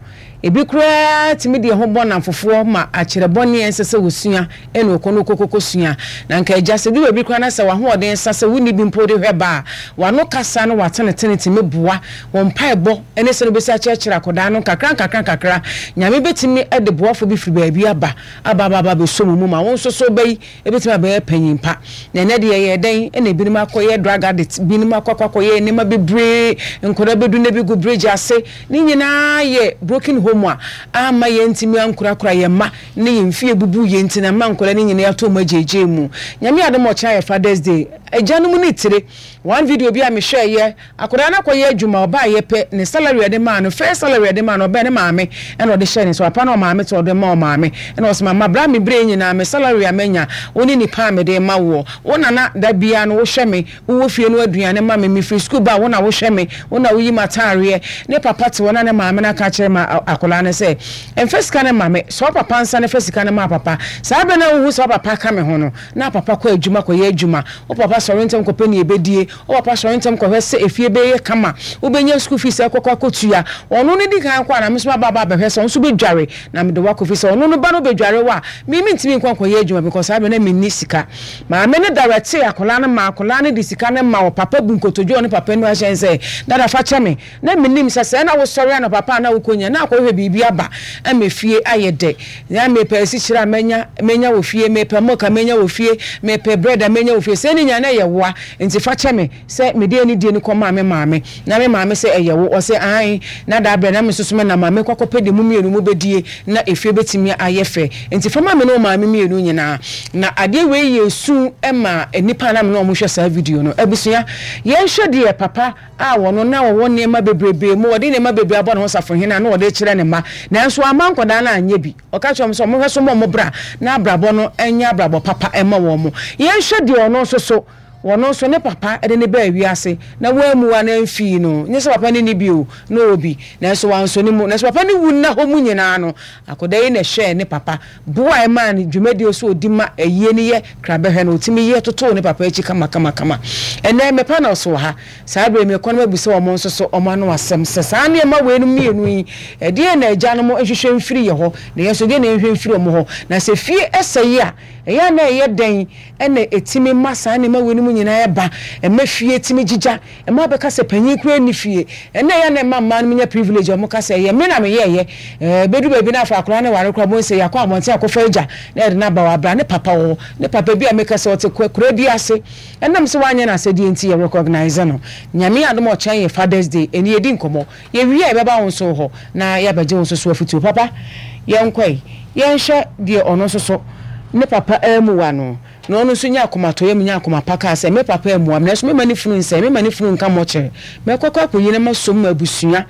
Ebi koraa tumi de ɛho bɔ nnamfofoɔ ma akyerɛ bɔne a ɛnsɛ sɛ wɔsua na ɔkɔ no ɔkɔkɔsua. Na anka agya, sɛ ɛdu baabi koraa na sɛ w'ahoɔden sa sɛ wonni bi mpo de hwɛ ba a, w'ano kasa ne w'atenetene tumi boa wo mpaebɔ ne sɛdeɛ wobɛsi akyerɛkyerɛ akwadaa no nkakrankakra. Nyame bɛtumi de boafoɔ bi firi baabi aba, aba aba aba abɛsɔ mo mu ma wo nso so wo ba yi bɛtumi abɛyɛ panyin pa. Na ɛnnɛ deɛ ɛyɛɛ dɛn na ebinom akɔyɛ drug addict, binom akɔ akɔ akɔyɛ nneɛma bebree, nkwadaa bɛdu na bi gu bridge ase. Ne nyinaa yɛ broken home a amma yɛantumi ankorakora yɛn mma ne yɛn fie bubuu yɛn nti na ama nkwadaa no nyinaa yɛato wɔn agyaagyaa mu. Nyame adom a ɔkyena yɛ Father's Day. Agyanom ne tire. One video bi a mehwɛeɛ, akwadaa no akɔyɛ adwuma, ɔbaeɛ pɛ, ne salary a yɛde maa no, first salary a yɛde maa no, ɔbaeɛ ne maame na ɔde hyɛɛ ne nsa, papa ne ɔmaame te ɔde ma ɔmaame, ɛna ɔse mama bra me berɛ yi nyinaa me salary a manya, wo ne nipa a mede rema woɔ, wo na na da biara no wohwɛ me, Wowɔ fie no aduane ma me, mefiri sukuu ba a, wo na wohwɛ me, wo na woyi m'ataareɛ. Ne papa te hɔ na ne maame no aka akyerɛ ma akwadaa no sɛ, Mfa sika no mma me, sɔ wo papa nsa na fa sika no ma papa. Saa berɛ no a wohu sɛ wo papa ka me ho no, na papa kɔ adwuma kɔyɛ adwuma. Wo papa sɔre ntɛm kɔpɛ nea ɛbɛdie, wo papa sɔre ntɛm kɔhwɛ sɛ efie bɛyɛ kama, wobɛnya sukuu fees akɔkɔ akɔtua. Ɔno no di kan kɔ a na me nso maba aba abɛhwɛ sɛ wo nso wobɛdware na mede wo akɔ fie. Sɛ ɔno no ba no bɛdware wo a, me mentumi nkɔ nkɔyɛ adwuma because saa berɛ no na menni sika. Maame no dawɛtee akwadaa no maa akwadaa no de sika no ma ɔpapa bu nkotodwe wɔ ne papa anim ahyɛ no sɛ, Dada fa kyɛ me. Na mennim sɛ sɛɛ na wosɔre anɔpa pa a na wokɔnya na akɔhwehwɛ biribi aba ama fie ayɛ dɛ. Na mepɛ asikyire a mɛnya, mɛnya wɔ fie, mepɛ milk a mɛnya wɔ fie, mepɛ bread a mɛnya wɔ fie. Sɛɛ ne nyinaa na ɛyɛ woa, nti fa kyɛ me sɛ mede anidie no kɔmaa me maame. Na me maame sɛ ɛyɛ wo? Ɔse aane. Na daa berɛ na me nso so menam a mekɔ akɔpɛ deɛ mo mmienu mobɛdie na efie bɛtumi ayɛ fɛ. Nti fa ma me ne wo maame mmienu nyinaa. Na adeɛ wei yɛ su ma nnipa a na me ne wɔn hwɛ saa video no. Abusua, yɛnhwɛ deɛ papa a ɔno na ɔwɔ nneɛma bebrebee mu, ɔde nneɛma bebree abɔ ne ho safohene a na ɔde rekyerɛ ne mma, nanso wamma nkwadaa no anyɛ bi. Ɔka kyerɛɛ wɔn sɛ wɔnhwɛ so mmɔ wɔn bra na abrabɔ no nyɛ abrabɔ papa mma wɔn. Yɛnhwɛ deɛ ɔno nso so, ɔno nso ne papa de no baa wiase na wammua no amfii no. Nyɛ sɛ papa no nni bi o, na ɔwɔ bi, nanso wansɔ ne mu. Nanso papa no wu nna hɔ mu nyinaa no, akwadaa yi na ɛhwɛɛ ne papa Boa a ɛmaa no dwumadie so ɔdi ma ayie no yɛ krabɛhwɛ no, ɔtumi yɛ totoo ne papa akyi kamakamakama. Ɛnnɛ me panels wɔ ha, saa berɛ yi mekɔ na mabisa wɔn nso so wɔn ano asɛm sɛ saa nneɛma weinom mmienu yi, ɛdeɛn na agyanom nhwehwɛ mfiri yɛ hɔ, na yɛn nso ɛdeɛn na yɛnhwɛ mfiri wɔn hɔ? Na sɛ fie sɛe a, ɛyɛ a na ɛyɛ dɛn na ɛtumi ma saa nneɛma weinom nyinaa ba, ɛma fie tumi gyigya, Mmaa bɛka sɛ panyin koraa nni fie. Ɛnna ɛyɛ a na ɛma mmaa no nya privilege a wɔka sɛ ɛyɛ me na meyɛeɛ. Ɛbɛduru baabi na afei akwadaa no ware koraa wobɛhu sɛ yɛakɔ abɔnten akɔfa agya na yɛde no aba hɔ. Abra ne papa wɔ hɔ. Ne papa bi a meka sɛ ɔte akuraa bi ase. Ɛnam sɛ wanyɛ n'asɛdeɛ nti yɛ recognise no. Nyame adom a ɔkyena yɛ Father's Day. Ɛnnɛ yɛdi nkɔmmɔ. Yɛwie a yɛbɛba wo nso wo hɔ na yɛabɛgye wo nso so afotuo. Papa yɛnkɔ ɛ. Yɛnhwɛ deɛ ɔno nso so ne papa ammuwa no. Na ɔno nso nyaa akomatɔyam nyaa akoma pa kaa sɛ, Me papa ammua me, nanso meremma ne funu nsɛe, meremma ne funu nka mmɔkyere. Mɛkɔ akɔ akɔyi na masom m'abusua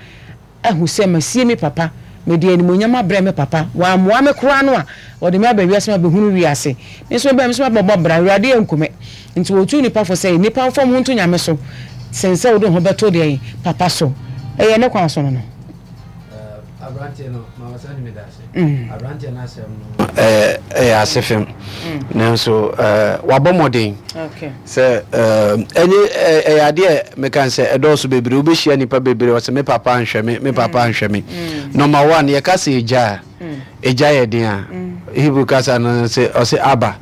ahu sɛ masie me papa. Mede animuonyam abrɛ me papa. Wammoa me koraa no a, ɔde me aba wiase ma abɛhunu wiase. Me nso mebɛɛ, me nso mabɛbɔ bra. Awurade anku me. Nti wɔtuu nnipa fo sɛ, Nnipa mfa wɔn ho nto Nyame so sen sɛ wode wo ho bɛto deɛn? Papa so. Ɛyɛ ne kwan so no no. Aberanteɛ no, ma wɔsan ne me da ase. Aberanteɛ no asɛm no ɛyɛ ase fam. Nanso wabɔ mmɔden sɛ ɛnyɛ ɛyɛ adeɛ meka sɛ ɛdɔɔso bebree. Wobɛhyia nnipa bebree ɔsɛ me papa nhwɛ me, me papa nhwɛ me. Number one, yɛka sɛ egya a, egya yɛ den a, Hebrew kasa no sɛ ɔsɛ aba.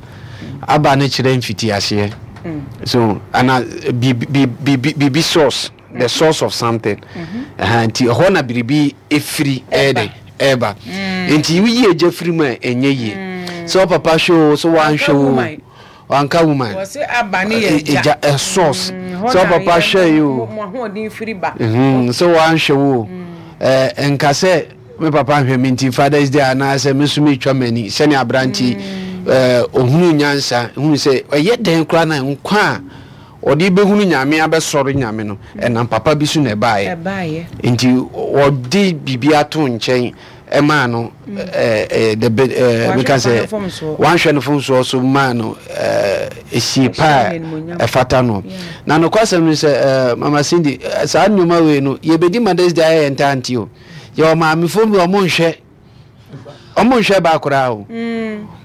Aba no kyerɛ mfitiaseɛ. So ana biribi biribi source. the source of something ɛha nti ɛhɔ na biribi efiri ɛyɛ dɛ ɛɛba nti woyi egya firi mu a ɛnyɛ yie sɛ ɔpapa hwɛ o sɛ wanhwɛ o wanka woman egya ɛ source sɛ ɔpapa hwɛ yi o sɛ wanhwɛ o ɛɛ nka sɛ me papa nhwɛ me nti fathers day anaasɛ me nso metwa m'ani sɛnea aberante ɛɛ ohunu nyansa hunu sɛ ɛyɛ dɛn koraa na nkwa a. Ɔde rebɛhunu Nyame abɛsɔre Nyame no, ɛnam papa bi so na ɛbaeɛ. Nti ɔde biribi ato nkyɛn ɛmaa no the meka sɛ wanhwɛ no fomsoɔ so maa no esie pa a ɛfata no. Na nokwasɛm no sɛ Mama Cindy, saa nneɛma wei no yɛbɛdi Mother's Day ayɛ yɛn ntaa nti o. Yɛwɔ maamefoɔ bi ɔmo nhwɛ ɔmo nhwɛ ba koraa o.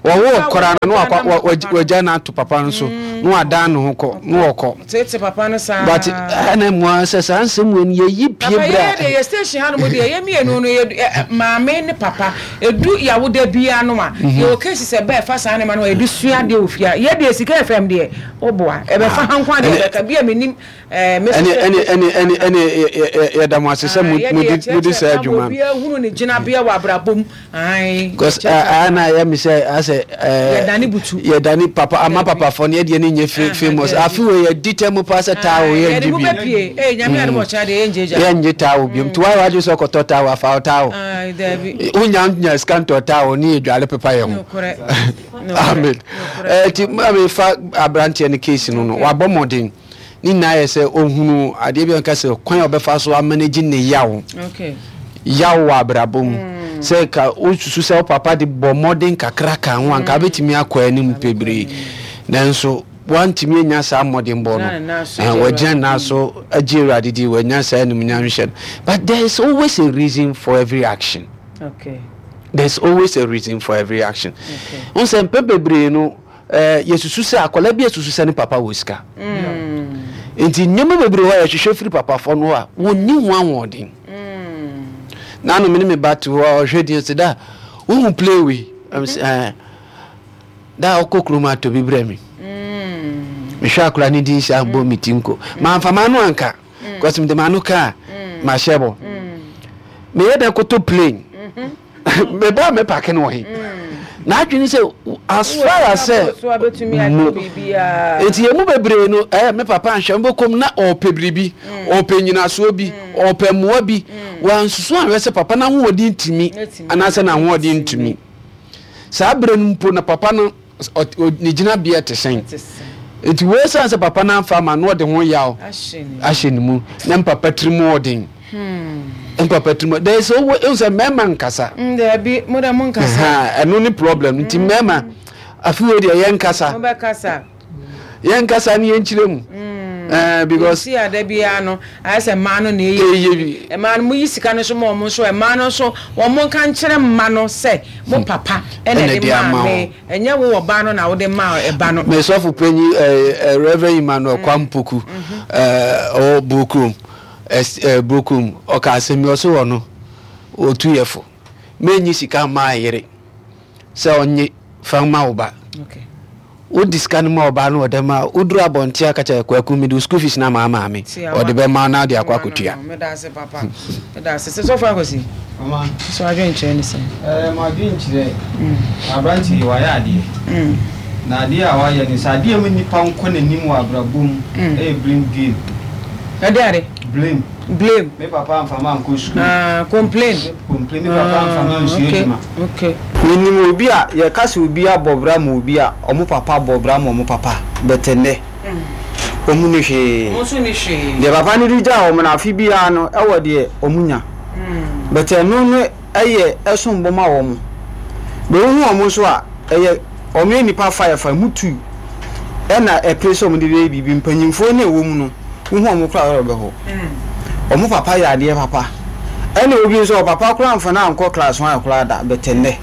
Wɔwo koraa no na wakɔ wagya no ato papa no so na wadan ne ho kɔ na wɔkɔ. Tete papa no saa. But ɛna mu ara sɛ saa nsɛm wei no yɛyi pie Papa berɛ yɛyɛ a. deɛ yɛ station ha nom deɛ yɛ mmienu no yɛ maame ne papa edu yawoda biara no a yɛwɔ cases ɛbɛ ɛfa saa nneɛma no a yɛde sua adeɛ wɔ fie a yɛ deɛ sika fm deɛ woboa ɛbɛfa ha nko adeɛ ɛbɛka bi a menim ɛɛ me Ɛne ɛne ɛne ɛne ɛne yɛda mo ase sɛ mo mo di mo di saa adwuma no. Obiara hunu ne gyinabea wɔ abrabɔ mu. Ae. Because ɛɛ na yɛ mi sɛ asɛ ɛɛ. Yɛdane butu. Yɛdane papa ama papafoɔ no yɛdeɛ ne nyɛ famous. Afi wei yɛdi tɛ mu paa sɛ taawo yɛngye Yɛde mo bi. bɛpie. Ee nyame adom ɔkyena deɛ yɛngye gya. Yɛngye taawo biom. Nti wayɛ wadwene sɛ ɔkɔtɔ taawo afa wo taawo. Ae daabi. Wonya nya sika ntɔ taawo ne yɛdwale pepa yɛn ho. Nokorɛ. Amen. Ɛti maame fa aberanteɛ no case no no wabɔ mmɔden ne nyinaa yɛ sɛ ohunu adeɛ bi a nka sɛ kwan a ɔbɛfa so amanage ne yaw yaw wɔ abrabɔ mu mm. sɛ ka wosusu sɛ wo papa de bɔ mmɔden kakra ka ho anka wobɛtumi akɔ anim bebree nanso wantumi anya saa mmɔdenbɔ no wagyina nna so agye awurade di wanya saa animuonyam hyɛ no but there is always a reason for every action Okay. There's always a reason for every action. Okay. N sɛ mpɛn bebree no eh, yɛsusu sɛ akwadaa bi asusu sɛ ne papa wɔ sika. Mm. Nti nneɛma bebree hɔ a yɛhwehwɛ firi papafoɔ no a wɔnni ho ahoɔden. Mm. Nanom ne me ba te hɔ a ɔhwɛ din sɛ da wohu play wei. Mm -hmm. eh, da ɔkɔ kurom atɔ bi brɛ me. Mm. Mehwɛ akwadaa ne din hyɛ abɔ me ti nko. Mamfa m'ano anka. Because mede m'ano ka a mahyɛ bɔ. Meyɛ dɛ koto plane. Meba a mɛpake no wɔ he? N'adwene sɛ as far as sɛ mu nti yɛn mu bebree no ɛɛ me papa anhwɛ mbɛkɔm na ɔɔpɛ biribi ɔɔpɛ nyinasoɔ bi ɔɔpɛ mmoa bi wansusu anhwɛ sɛ papa n'ahoɔden tumi anaasɛ n'ahoɔden ntumi saa berɛ no mpo na papa no ne gyinabea te sɛn? Nti wei san sɛ papa no amfa ama no ɔde ho yaw ahyɛ ne mu na mpapa tiri mu ɔden. Mpapa tiri mu there is always ehu sɛ mmarima nkasa. Mm, daabi mo dɛ mo nkasa. Ɛno ne problem nti mmarima afi wei deɛ yɛn nkasa. Mo bɛ kasa. Yɛn nkasa ne yɛn kyerɛ mu. Eh, because. Si ada biara no ayɛ sɛ mmaa no na ɛyɛ bi. Mmaa no mo yi sika no so ma wɔn nso mmaa no nso wɔn nka nkyerɛ mma no sɛ mo papa ɛna ɛde maa me ɛnyɛ wo ɔbaa no na wode maa ɛba no. Me sɔfo panyin eh, eh, Reverend Emmanuel Kwampoku eh, ɔwɔ Burokurom eh, Burokurom ɔka asɛm bi ɔso wɔ no ɔtu yɛ fo menyi sika mmaa yere sɛ ɔnye fa ma wo ba. Okay. Wode sika no ma ɔbaa no wɔ dɛm a, woduru abɔnten a ka kyerɛ Kwaku mede wo school fees no ama maame. Ɔde bɛma wo na wode akɔ akɔtua. Meda ase papa. Meda ase. Sɛ sɔfo akwasi. Mama. So adwenkyerɛ ne sɛn? Ɛɛ m'adwenkyerɛ. Aberante yi wayɛ adeɛ. Na adeɛ a wayɛ no sɛ adeɛ a ɛma nipa nkɔ n'anim wɔ abrabɔ mu ɛyɛ blame game. Ɛde ade? Blame. Blame. Me papa amfa me ankɔ sukuu. Ah, complain. Complain, me papa amfa me ansua adwuma. Okay. Menim obi a, yɛka sɛ obi abɔ bra ma obi a, ɔmo papa bɔ bra ma ɔmo papa, but ɛnnɛ, ɔmo nni hwee. Ɔmo nso nni hwee. Deɛ papa no de gyaa wɔn no, afe biara no, ɛwɔ deɛ ɔmo nya. But ɛno no yɛ ɛsom bo ma wɔn. But wohu wɔn nso a, ɛyɛ wɔn yɛ nnipa faeɛfaeɛ, wɔn tu ɛna ɛpere sɛ wɔn de bɛyɛ biribi. Mpanyinfoɔ no a ɛwɔ mu no, wohu wɔn koraa a werɛ bɛho. Wɔn papa yɛ adeɛ papa. Ɛna obi nso ɔpapa koraa amfa no ankɔ class one koraa da, but ɛnnɛ,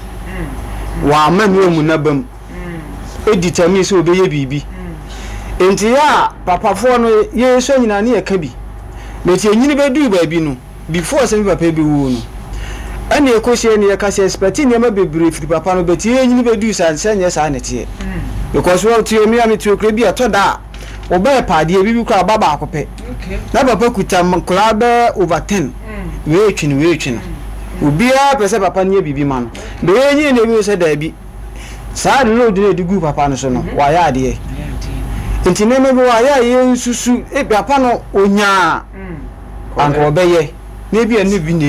wamma no ammu n'aba mu. Determine sɛ ɔbɛyɛ biribi. Nti yɛ a papafoɔ no yɛsua nyinaa ne yɛka bi. But yɛnyini bɛduru baabi no, before sɛ me papa bɛwuo no, ɛna ɛkɔhyia ne yɛka sɛ expect nneɛma bebree firi papa no, but yɛnyini bɛduru saa sɛ nyɛ saa na ɛteɛ. Because wɔte me a mete okura bi a ɛtɔ da a, wɔbɛyɛ paadeɛ bi bi koraa ɔba baako pɛ. Na papa kuta nkwadaa bɛyɛ over ten. Wei retwe no, wei retwe no. Obiara pɛ sɛ papa no yɛ biribi ma no. But yɛnyini na ebi sɛ daabi. Saa load no a ɛde guu papa no so no, wayɛ adeɛ. Nti nneɛma bi wɔ a yɛ a yɛnsusu, papa no ɔnyaa anka ɔbɛyɛ, na ebi a ne bi na.